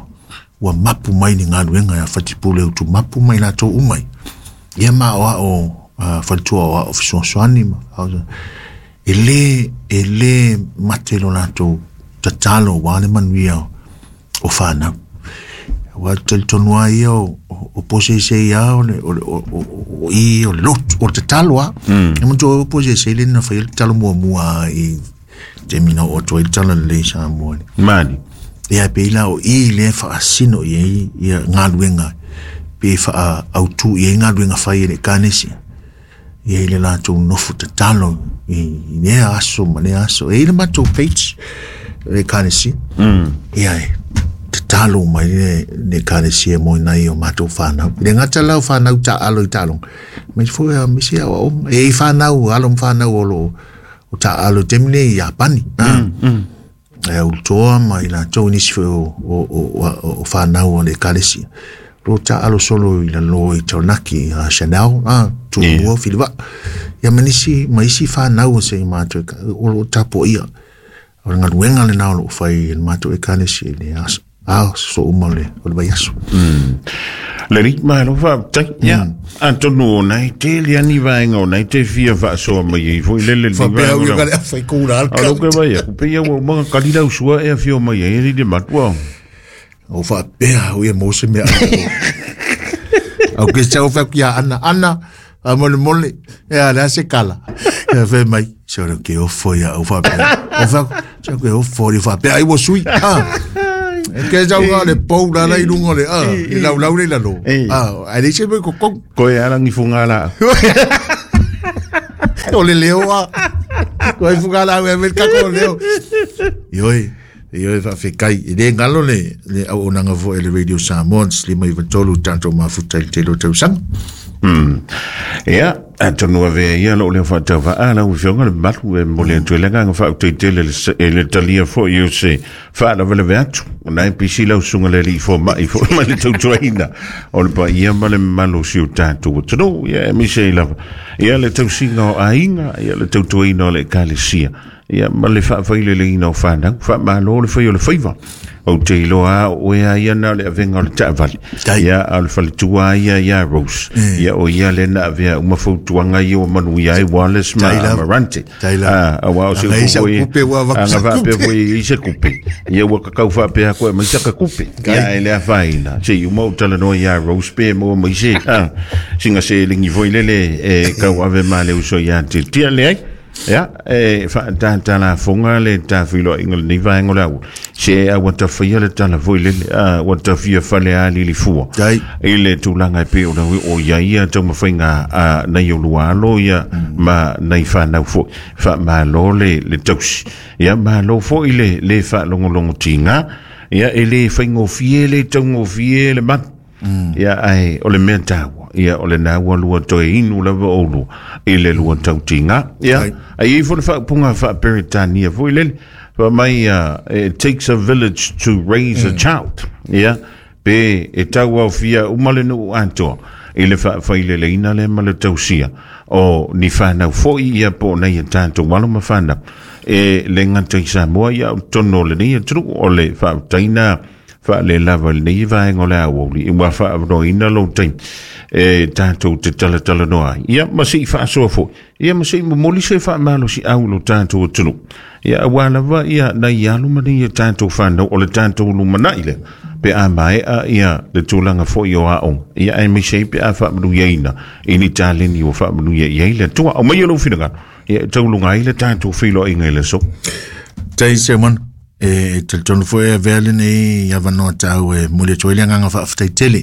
ua mapu mai ni galuega ia Fatipule utumapu mai latou uma ai. Ia ma aoao uh, faletua o ao fesoasoani ma e lē e lē mate lo latou tatalo auā le manuia o fanau. Ua talitonu lava ia o o poseisei a o le o le o o i o le lotu o le tatalo a. Mm. E manatua o poseisei le na faia le tatalo muamua i taimi na oo atu ai le tala lelei i Samoa nei. Mali. Ia pei la o i lea e faasino i ai ia galuega pe faaautū i ai galuega fai e le ekalesia. Ia i le latou nofo tatalo i i lea aso ma lea aso. E i ai le matou page le ekalesia. Mm. Ia e tatalo mai le le ekalesia mo nai o matou fanau. E le gata la o fanau taaalo i taaloga, aemaise foi a misi aoaoga. E i ai fanau, alo ma fanau o loo o taaalo i taimi nei i Iapani. Mm. Mm. E ulutoa ma i latou nisi foi o o o o fanau o le ekalesia. Lo taaalo solo i lalo i Taranaki a Chanel a Tumua Filivaa. Ia ma nisi ma isi fanau o se i matou o loo tapuaia. O le galuega lenā o loo fai e le matou ekalesia i le aso aso uma o le o le vaiaso. Mm. Lelei, malo faafetai. Ia, atonu o nai tele ani vaega o nai te fia faasoa mai ai foi lele le Faapea vaega au o ia lau. ka le afai kula A lau ke vai aku, pe ia ua umaga kali lau sua e afio mai ai e le matua. O faapea au ia mo se mea. Au ke sau fa kia ana ana a mole mole e a la se kala. E fe mai so lo ke o fo ya o fa pe. O fa so ke o fo ri fa pe ai wo sui. Ah. Ke sau ga le pou la la ilunga le ah i lau lau le la lo. Ah, ai le se ko ko ko e ala ngi funga la. O le leo a. Ko e funga la e ka ko leo. Ioi. Ioi fa fekai i le ngalo le le au onanga fo e le Radio Samoa lima iva tolu tanto mafuta i te lo tausanga. Hmm. Ia, atonu ave ia lo le whaatau a la ufionga le malu e mole atu e lenga nga whautaitele e le talia fo i o se whaala vele veatu. Na e pisi lau sunga le li fo mai fo mai le tautuaina. O le pa ia ma le malo si o tātou. Tano, ia e mise i lava. Ia le tausinga o ainga, ia le tautuaina o le ekalesia. Ia ma le whaawhaile le ina o whanau, whaamalo le whai o le whaiva. O te iloa o ea ia na le avenga o le taavali. Ia a le faletua ia ia Rose. Ia o ia le na avea umafautuanga ia o manu ia e Wallace ma Amarante. A wa o se upu anga faapea foi i se kupe. Ia ua kakau faapea koe mai saka kupe. Ia e le afaina. Se i uma o talanoa ia Rose pe mo mai se. Singa se lingi foi lele e kau ave ma le uso ia te tia le ai. Ia, e whaatata fonga le tawhilo inga le niva engo lau. Se a watawhia le tala foi lele, a watawhia whale a lili fua. I le tūlanga e pe o lau o ia ia taumawhainga a nei o lualo ia ma nei whanau foi. Wha malo le, le tausi. Ia malo foi le, le whaalongolongo tinga. Ia e le whaingofie le taungofie le mat. Ia ai o le mea tāua. Ia o le nā ua lua toe inu lava o lua i le lua tautinga. Ia, ai i fo le whaapunga whaaperitania foi lele. Fa mai, uh, it takes a village to raise mm. a child. Ia, pe e tau au fia umale nuu atoa i le whaawhaile le ina le ma le tausia. O ni whanau foi ia po nei e tātou walo ma whanau. E le ngata i Samoa ia o tono le nei e tru o le whaataina wha le lava le nei vaenga o le awauli. I wā whaawanoina lo taimi e tātou te talatala noa. Ia, ma se i whaasoa foi. Ia, ma se i momoli se whaamalo si au lo tātou o tunu. Ia, a wā lava, ia, nei alu ma nei e tātou whanau o le tātou lumanai le. Pe a mae a ia le tūlanga foi o aonga. Ia, ai me se pe a whaamanu iaina. I ni tāleni o whaamanu ia ia le tua. O mai o lau whinanga. Ia, taulunga ai le tātou whilo inga i le so. Tei se man. E talitonu foi a vea lenei i avanoa tau e moli atu ai le agaga faafetai tele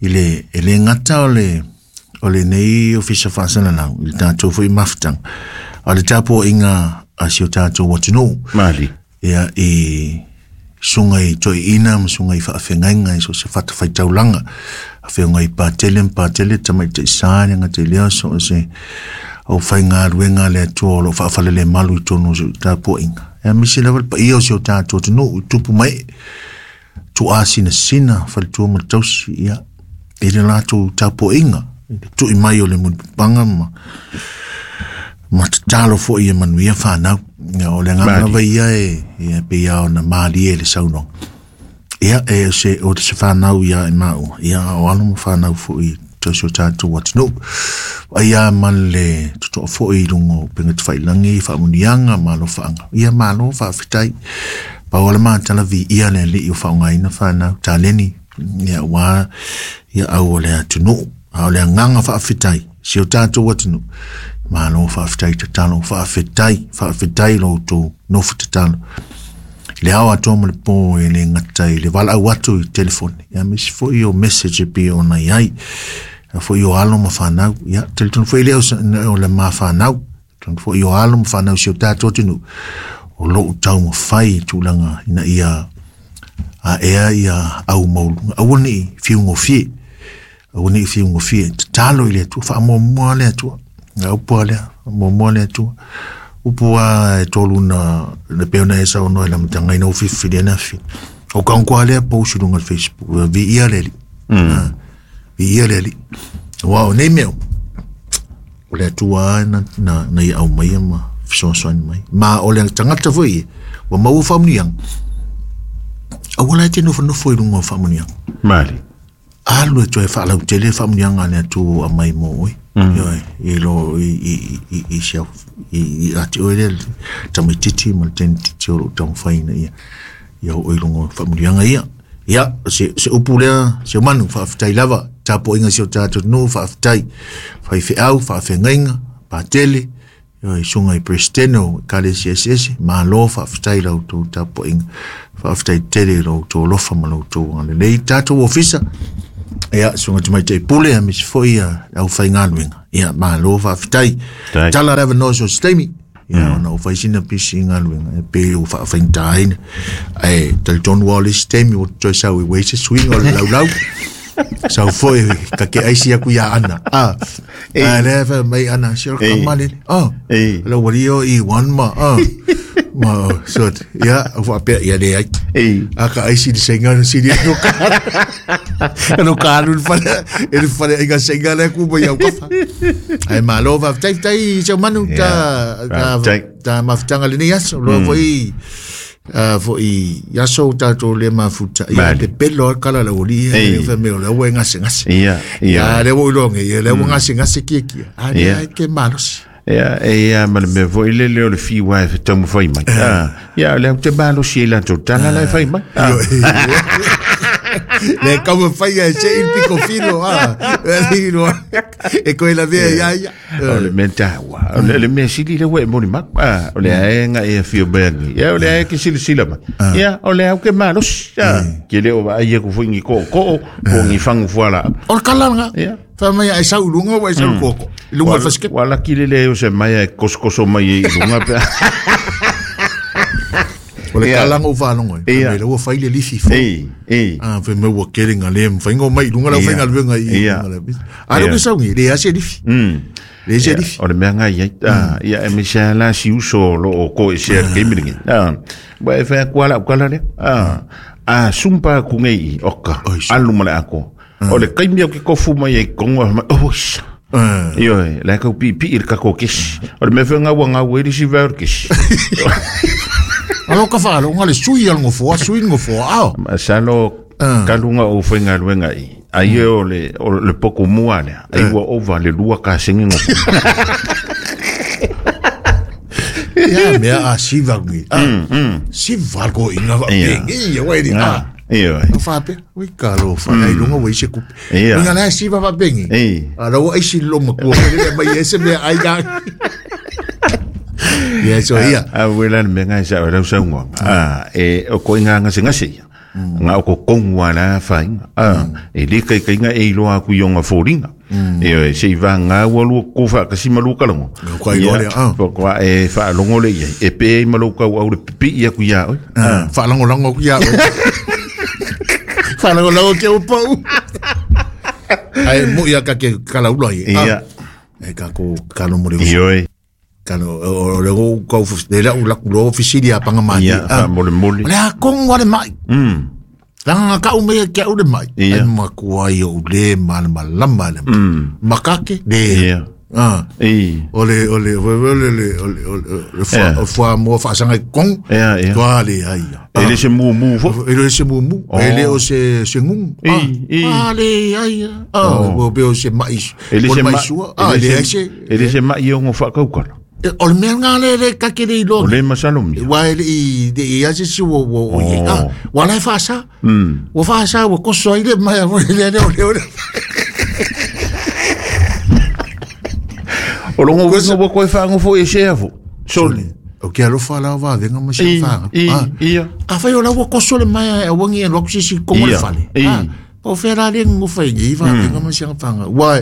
i le e le gata o le o lenei ofisa faasalalau i le tatou foi mafutaga a le tapuaiga a si o tatou atunuu mali ia i suga i toeaina ma suga i faafeagaiga i so se fatafaitaulaga afeoga i patele ma patele tamaitaisā le gata i lea so o se au faigaluega le Atua o loo faafalelemalu i tonu o se tapuaiga. E misi lava le paia o si o tātou atunuu i tupu mai tuasinasina faletua ma le tausi ia i le latou tapuaiga i le tui mai o le mulipapaga ma ma tatalo foi e manuia whanau. Ia, o le agaga lava ia e ia pei a ona malie le saunoaga. Ia e se o se whanau ia e maua. Ia o alo ma whanau foi tausi o tātou atunuu. Ai a ma le totoa foi i luga o upega tafailangi, faamuniaga ma alofaaga. Ia malo faafetai. Pau o le matala viia le alii o faaaogaina whanau taleni. Ia ua ia au o le atunuu. A o le agaga faafetai si o tātou atunuu. Malo faafetai tatalo, faafetai, faafetai lo outou nofo tatalo. Le ao atoa ma le pō e le gata i le valaau atu i telefone. Ia misi foi o message e pei ona iai. Ia foi o alo ma whanau. Ia talitonu foi lea o le ma whanau. Talitonu foi o alo ma whanau si o tātou atunuu. O lou taumafai i tulaga ina ia a ea ia au mauluga. Aua nei fiugofie. Aua nei fiugofie. Tatalo i le Atua, faamuamua le Atua. Ia upu a lea, faamuamua le Atua. Upu a e tolu na le pei ona e saunoa i le amataga ina ua filifili ana afi. O kagoa lea post i luga o le Facebook, viia le Alii. Viia le Alii. Aua o nei mea o le Atua na, na, na ia aumaia ma fesoasoani mai. Ma o le tagata foi ia, ua maua faamuniaga. Aua la e te nofonofo i luga o faamuniaga. Mali. Alu e toe faalautele faamuniaga a le Atua ua aumai mo oe. Ioe, i lo i i i i sia i i ati oe le tamaititi ma le tenititi o loo taumafaiina ia ia oo i luga o faamuniaga ia. Ia, se se upu lea, se manu faafetai lava, tapuaiga si o tatou nuu faafetai, faifeau, faafeagaiga, patele, ioe, susuga i Peresetene o Ekalesia eseese, malo faafetai la outou tapuaiga, faafetai tele i lo outou alofa ma lo outou agalelei. Tatou ofisa, ia, susuga tamaitai pule, aemaise foi ia le aufaigaluega, ia, malo faafetai. Tala le avanoa so se taimi, ia, ona ua fai sina pisi i galuega, e pei ua faafaigataina, ae talitonu lava o le isi taimi ua toe sau i uai se suiga o le laulau. Sau foi ka ke aisi aku ia ana. Ah, a le fa mai ana se o kamale. Ah, la wali o i one ma. Ah, ma so ia fa pe ia le ai. A ka aisi de senga no siri no ka. No ka lu fa e fa e ga senga le ku ba ia ka fa. Ai malo fa tai tai se manu ta ta ta maftanga le ni aso lo foi a foi ia so tatou le mafuta ia te pelo kala la oli e fa me o le wenga se ngase ia ia le wo ilonge ia le wenga se ngase ki ki a le ke malos ia e ia ma le me foi le le o le fiwa e tamu fai mai ah ia le te malos ia la totala la fai mai le kau fai e se il pico filo ah e ko la via ia ia o le mentawa o le me sili le we moni mak ah o le aenga e fio bengi ia o le ae ke sili sila ma ia o le au ke malos ke le o va ia ku foi ni ko ko ko ni fangu fuala o kalanga fa mai ai sau lunga wa sau koko lunga faske wala ki le le o se mai e koskoso mai i lunga pe o le kalanga o whanongo e me ua whai le lifi fo ah fe me ua kere ngā le mwhaingo mai lunga lau whainga luenga i a leo ke saungi le ase lifi le ase lifi o le mea ngai ai ia e me sea la si uso lo o ko e sea ke miringi wa e whea kua lau kala le a sumpa ku ngei oka alu ma le ako o le kaimi au ke kofu mai e kongo mai oh isa Io, le kau pi pi i le kako kesi o le mea whea ngau ngau e risi vea o le kesi. Alo ka whaalo, ngā le sui al ngofoa, sui ngofoa, ao. Salo kalunga o whainga luenga i. Ai o le, o le poko mua lea, ai ua ova le lua ka sengi ngofoa. Ia, mea a siva ngi. Siva ko inga wa pengi, ia wai ni. Ia. O whape, ui ka lo wha, ai lunga wai se kupe. Inga lai siva wa pengi. A rawa ai si longa kua, le mai e se mea ai ngā. Ia so ia. A wela le mea ngai sa o lau saunga. A e o ko inga ngase ngase ia. Nga o ko kongua la whainga. A e le kai kai nga e iloa aku i onga fōringa. E o e se i wā ngā ua lua ko wha kasi malu kalango. Kwa iloa le a. Kwa e whaalongo le ia. E pe e malu kau au le pipi ia ku ia oi. Whaalango lango ku ia oi. Whaalango lango ke upau. Ai mu ia ka ke kalaula ia. Ia. E ka ko kalo mo le. Ioi. Kalo o le go kau le la ula kulo ofisiri a panga mai. Ia, fa mole mole. Le a kongo le mai. Mm. Langa ka u me ke u le mai. Ai makua i o le mal malama le. Makake le. Ia. Ah. I. Ole ole ole ole ole ole fa fa mo fa sanga kong. Ia, ia. Toa le ai. E le se mu mu fo. E le se mu mu. E le o se se ngung. Ah le ai. Ah, o be o se mai. E le se mai. Ah, le se. E le se mai o ngo fa kaukala. O le mea ngā le le ka kere i loa. O le masalo mia. Wa e le i i ase si wo wo i. Ah, wa lai whaasa. Wa whaasa wa koso ai le mai a le le o le o le. O longo winga wa koe whaango fo e sea fo. Sole. O ke alofa la wa venga ma se whaanga. Ia. A whai o la wa koso le mai a wangi e loku sisi kongo le whale. Ia. O whera le ngu whai ngi wa venga ma se whaanga. Wa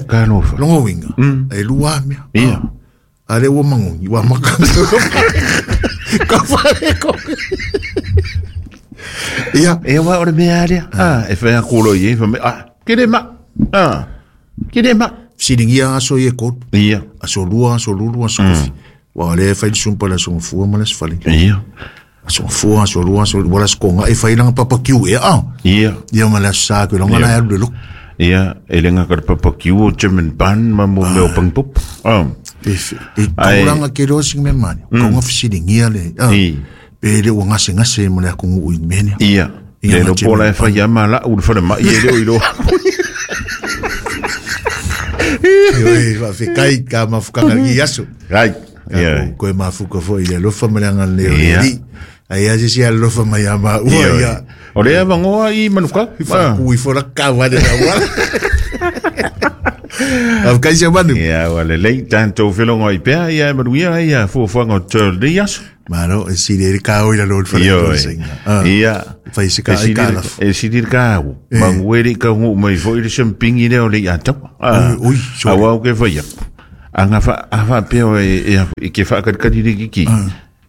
longo winga. E lua mea. Ia. Ale ua mangongi, ua makanga. Ka whare ko. Ia. E wa ore mea area. Ah, e whea kōlo i e wha ah, kere ma. Ah, kere ma. Siringia aso i e kōtu. Ia. Aso lua, aso lulu, aso kofi. Wa le whai sumpa le aso ngafua ma le asfali. Ia. Aso ngafua, aso lua, aso lulu, wala skonga. E whai langa papakiu e ah. Ia. Ia ma le aso sā koe, longa la alu le loko. Ia, e lenga ka te papakiu o German ban ma mo meo pangpop. Ah. E tauranga ke roa singa me mani. Kaunga fisiringia le. Pe le ua ngase ngase mo le akongu ui mene. Ia. Le lo pola e whai ama la ulu whare mai e leo i loa. Ioi, whawhekai ka mafukanga ngi aso. Rai. Koe mafuka fo i le lofa maleanga leo le li. Ai a se alofa mai ama ua ia. O le avangoa i manuka. Fa kui fora kawa de la. Av kai se manu. Ia wa le lei tanto felongo i pea ia manuia ia fuafuaga o tol dias. Maro e si le ka o ila lo fa le. Ia fa se ka ka la. E si le ka o. Manguere ka ngu mai fo ile sempingi le o le ata. Ah. Ui, so. Awa o ke fa ia. Anga fa afa pe o e e ke fa ka ka di ki.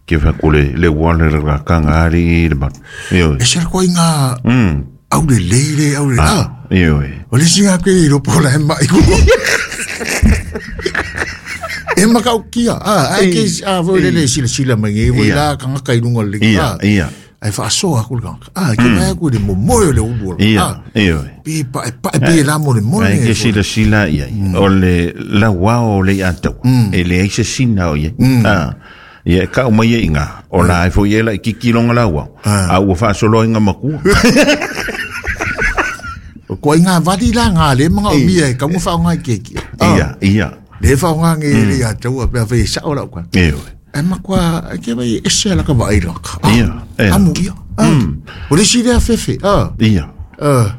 Ke fa kule le wale ra kanga ari le ba. Io. E se ko inga. Mm. Au le le au le. Ah. Io. O le singa ke ro pola e mai ku. E makau kia. Ah, ai ke a vo le le sila sila mai e vo la kanga kai lunga le. Ia, ia. Ai fa so a ku kanga. Ah, ke mai ku le mo mo le u. Ia, io. Pi pa pa pi la mo le mo. Ai ke sila sila ia. O le la wa o le ata. E le ai se sina o ia. Ah. Ia ka o mai inga o la e foi ela i kikilonga laua a ua faasolo inga makua o ko inga vali la nga le manga o mia e ka mo fa ngai keki ia ia le fa ngai le ia tau pe fa sa ora kwa ia e makwa ke vai ese la ka vai la ia amu ia o le si le fefe ah ia ah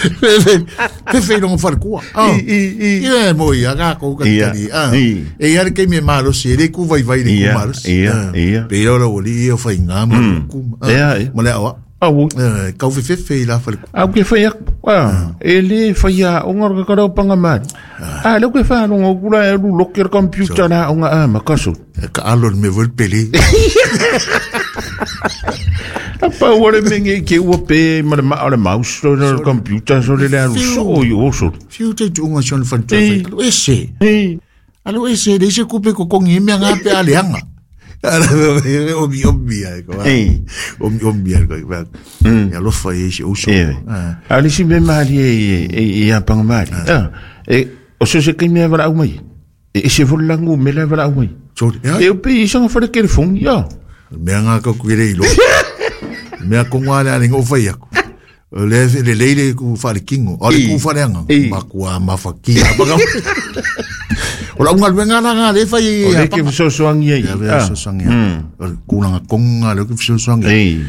Fefe, fefe no far kua. I i i. Ia mo ia ka ko ka tali. Ah. E ia ke me malo se le ku vai vai le ku malo. Ia ia. Pero lo li ia fa inga mo ku. Ia. Mo le awa. Au. Eh ka fefe fe la fa ku. Au ke fa ia. Ah, ele fa ia o ngor ka ro panga mari. Ah, le ke fa no kula e lu locker computer na o nga ma kaso. Ka alo me vol pele. Pa ua le menge ke ua pe ma le ma le mouse o le computer so le le so yo so. Fiu te tunga son fan te. Alo ese. Alo ese le se kupe ko kongi me nga pe ale anga. Ala omi omi ai ko. Omi omi ai ko. Ya lo fa ye se uso. Ali si me mali e e ya pang mali. Ah. E o se se ke me vara au mai. E se vol langu me la vara au mai. E o pe isa fa le telefone ya. Me nga ko kire ilo. Mea konga le ale ngo fai aku. Le le leile ku fa le kingo. O le ku fa le anga. Makua mafakia. O la unga luenga la nga le fai O le ke so so angi ai. Ya so so angi. O ku nga konga le ke so so angi.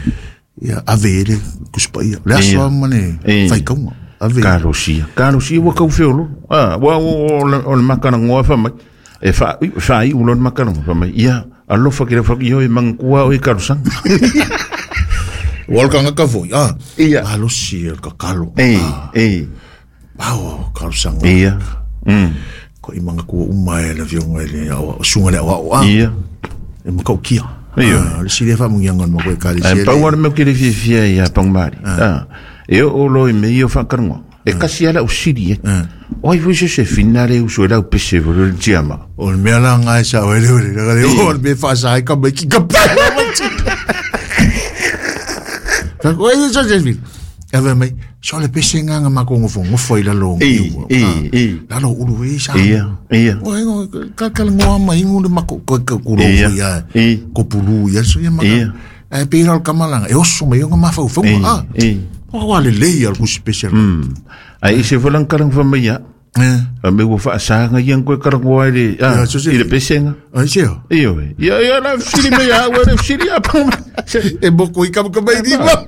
Ya avere ku spa ia. Le so mane fai konga. Ave. Karosia. Karosia wa kau feolo. Ah, wa o o le makana ngoa fa mai. E fa fa i ulon makana fa mai. Ia alofa ke le fa io e mangkua o e karosanga. Walkanga ka foi. Ah. Ia. Alo si el kakalo. Ei, ei. Pau karosanga. Ia. Mm. Ko i manga ku uma e la vionga le o sunga le o a. Ia. E makau kia. Ia. Le si le fa mungi ngon mo ko ka le si. E pau ara me ke le fifia ia pang mari. Ah. E o lo i me io fa karngo. E kasi ala o siri e. Oi foi se se finale o so la o pese vo le tiama. O me ala ngai sa o le le le o me fa sa ka me ki ka. Ko e so se vi. Ave mai so le pese nga nga makongo fo ngo foi la lo. E e e. La lo ulu e sa. Ia ia. O ngo ka ka ngo ma ingu le mako ko ko ko ia. Ko pulu ia so ia ma. E pe ra kamalanga e oso mai ngo ma fa fo ah. E. O wa le le ia ku special. Mm. Ai se volan karang fa mai ia. Eh. Me wo fa sa nga ia ko karang wa le. Ah, i le pese nga. Ai se. Io. Ia ia la fili me ia wa le fili a pa. E boko i ka ka mai di ma.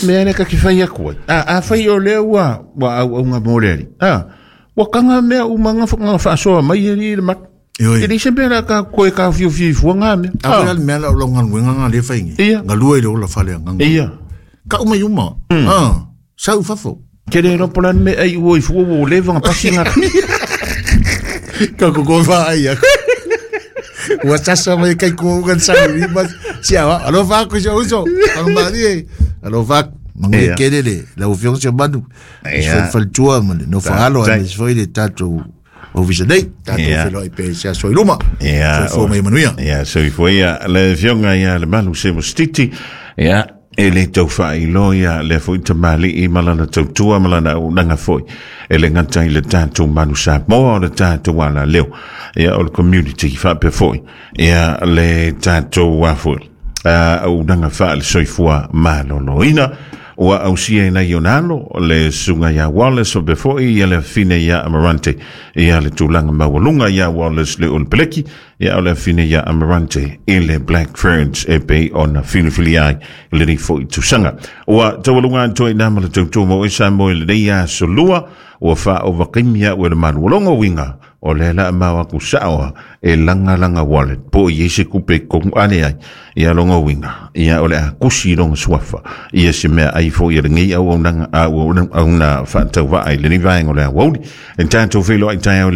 Me ana ka ki fai aku. A a fai o le ua wa au nga mo le. Ah. Wa kanga me u manga fa fa so mai i le mat. E le se pera ka ko e ka fiu fiu fu nga me. A le me la lo nga nga le fai ngi. Nga lua i le ola fale nga. Ia. Ka uma yuma. Ah. Sa u fafo. Ke le ro polan me ai o i fu o le vanga pasinga. Ka ko ko fa ai. Wa sasa mai kai ko kan sa ni ma si awa alo fa ko so so ang mari alo fa mangi kelele la ofiance manu Ia. Fa tua man no fa alo Tai. ane foi le tato o visanei tato Ia. felo i pe sia so iluma Ia, so fo mai manuia Ia, so i foi ia le fionga ia le malu se mostiti. Ia, e le tau whailo ia le foi te mali i malana tautua malana unanga foi. E le ngata i le tātou manu sa moa o le tātou ala leo. Ia, o le community whape foi. Ia, le tātou wā foi. Uh, unanga wha le soifua maloloina. Ua ausia i nai ona alo le susuga ia Wallace faapea foi ia le afafine ia Amarante. Ia le tulaga maualuga ia Wallace le Olepeleki, ia o le afafine ia Amarante i le Black Ferns e pei ona filifilia ai i lenei foi tausaga. Ua taualuga atoa i na ma le tautua mo e Samoa i lenei aso lua ua faaovakaimi a'u e le malualogo uiga o lea la mau aku sa'oa e lagalaga wallet po o i ai se kupe totonu ane ai ia loga uiga ia o le a kusi i loga suafa ia se mea ai fo'i e lenei auaunaga auauna faatauva'a i lenei vaega o le auauli e tatou feiloai taeao.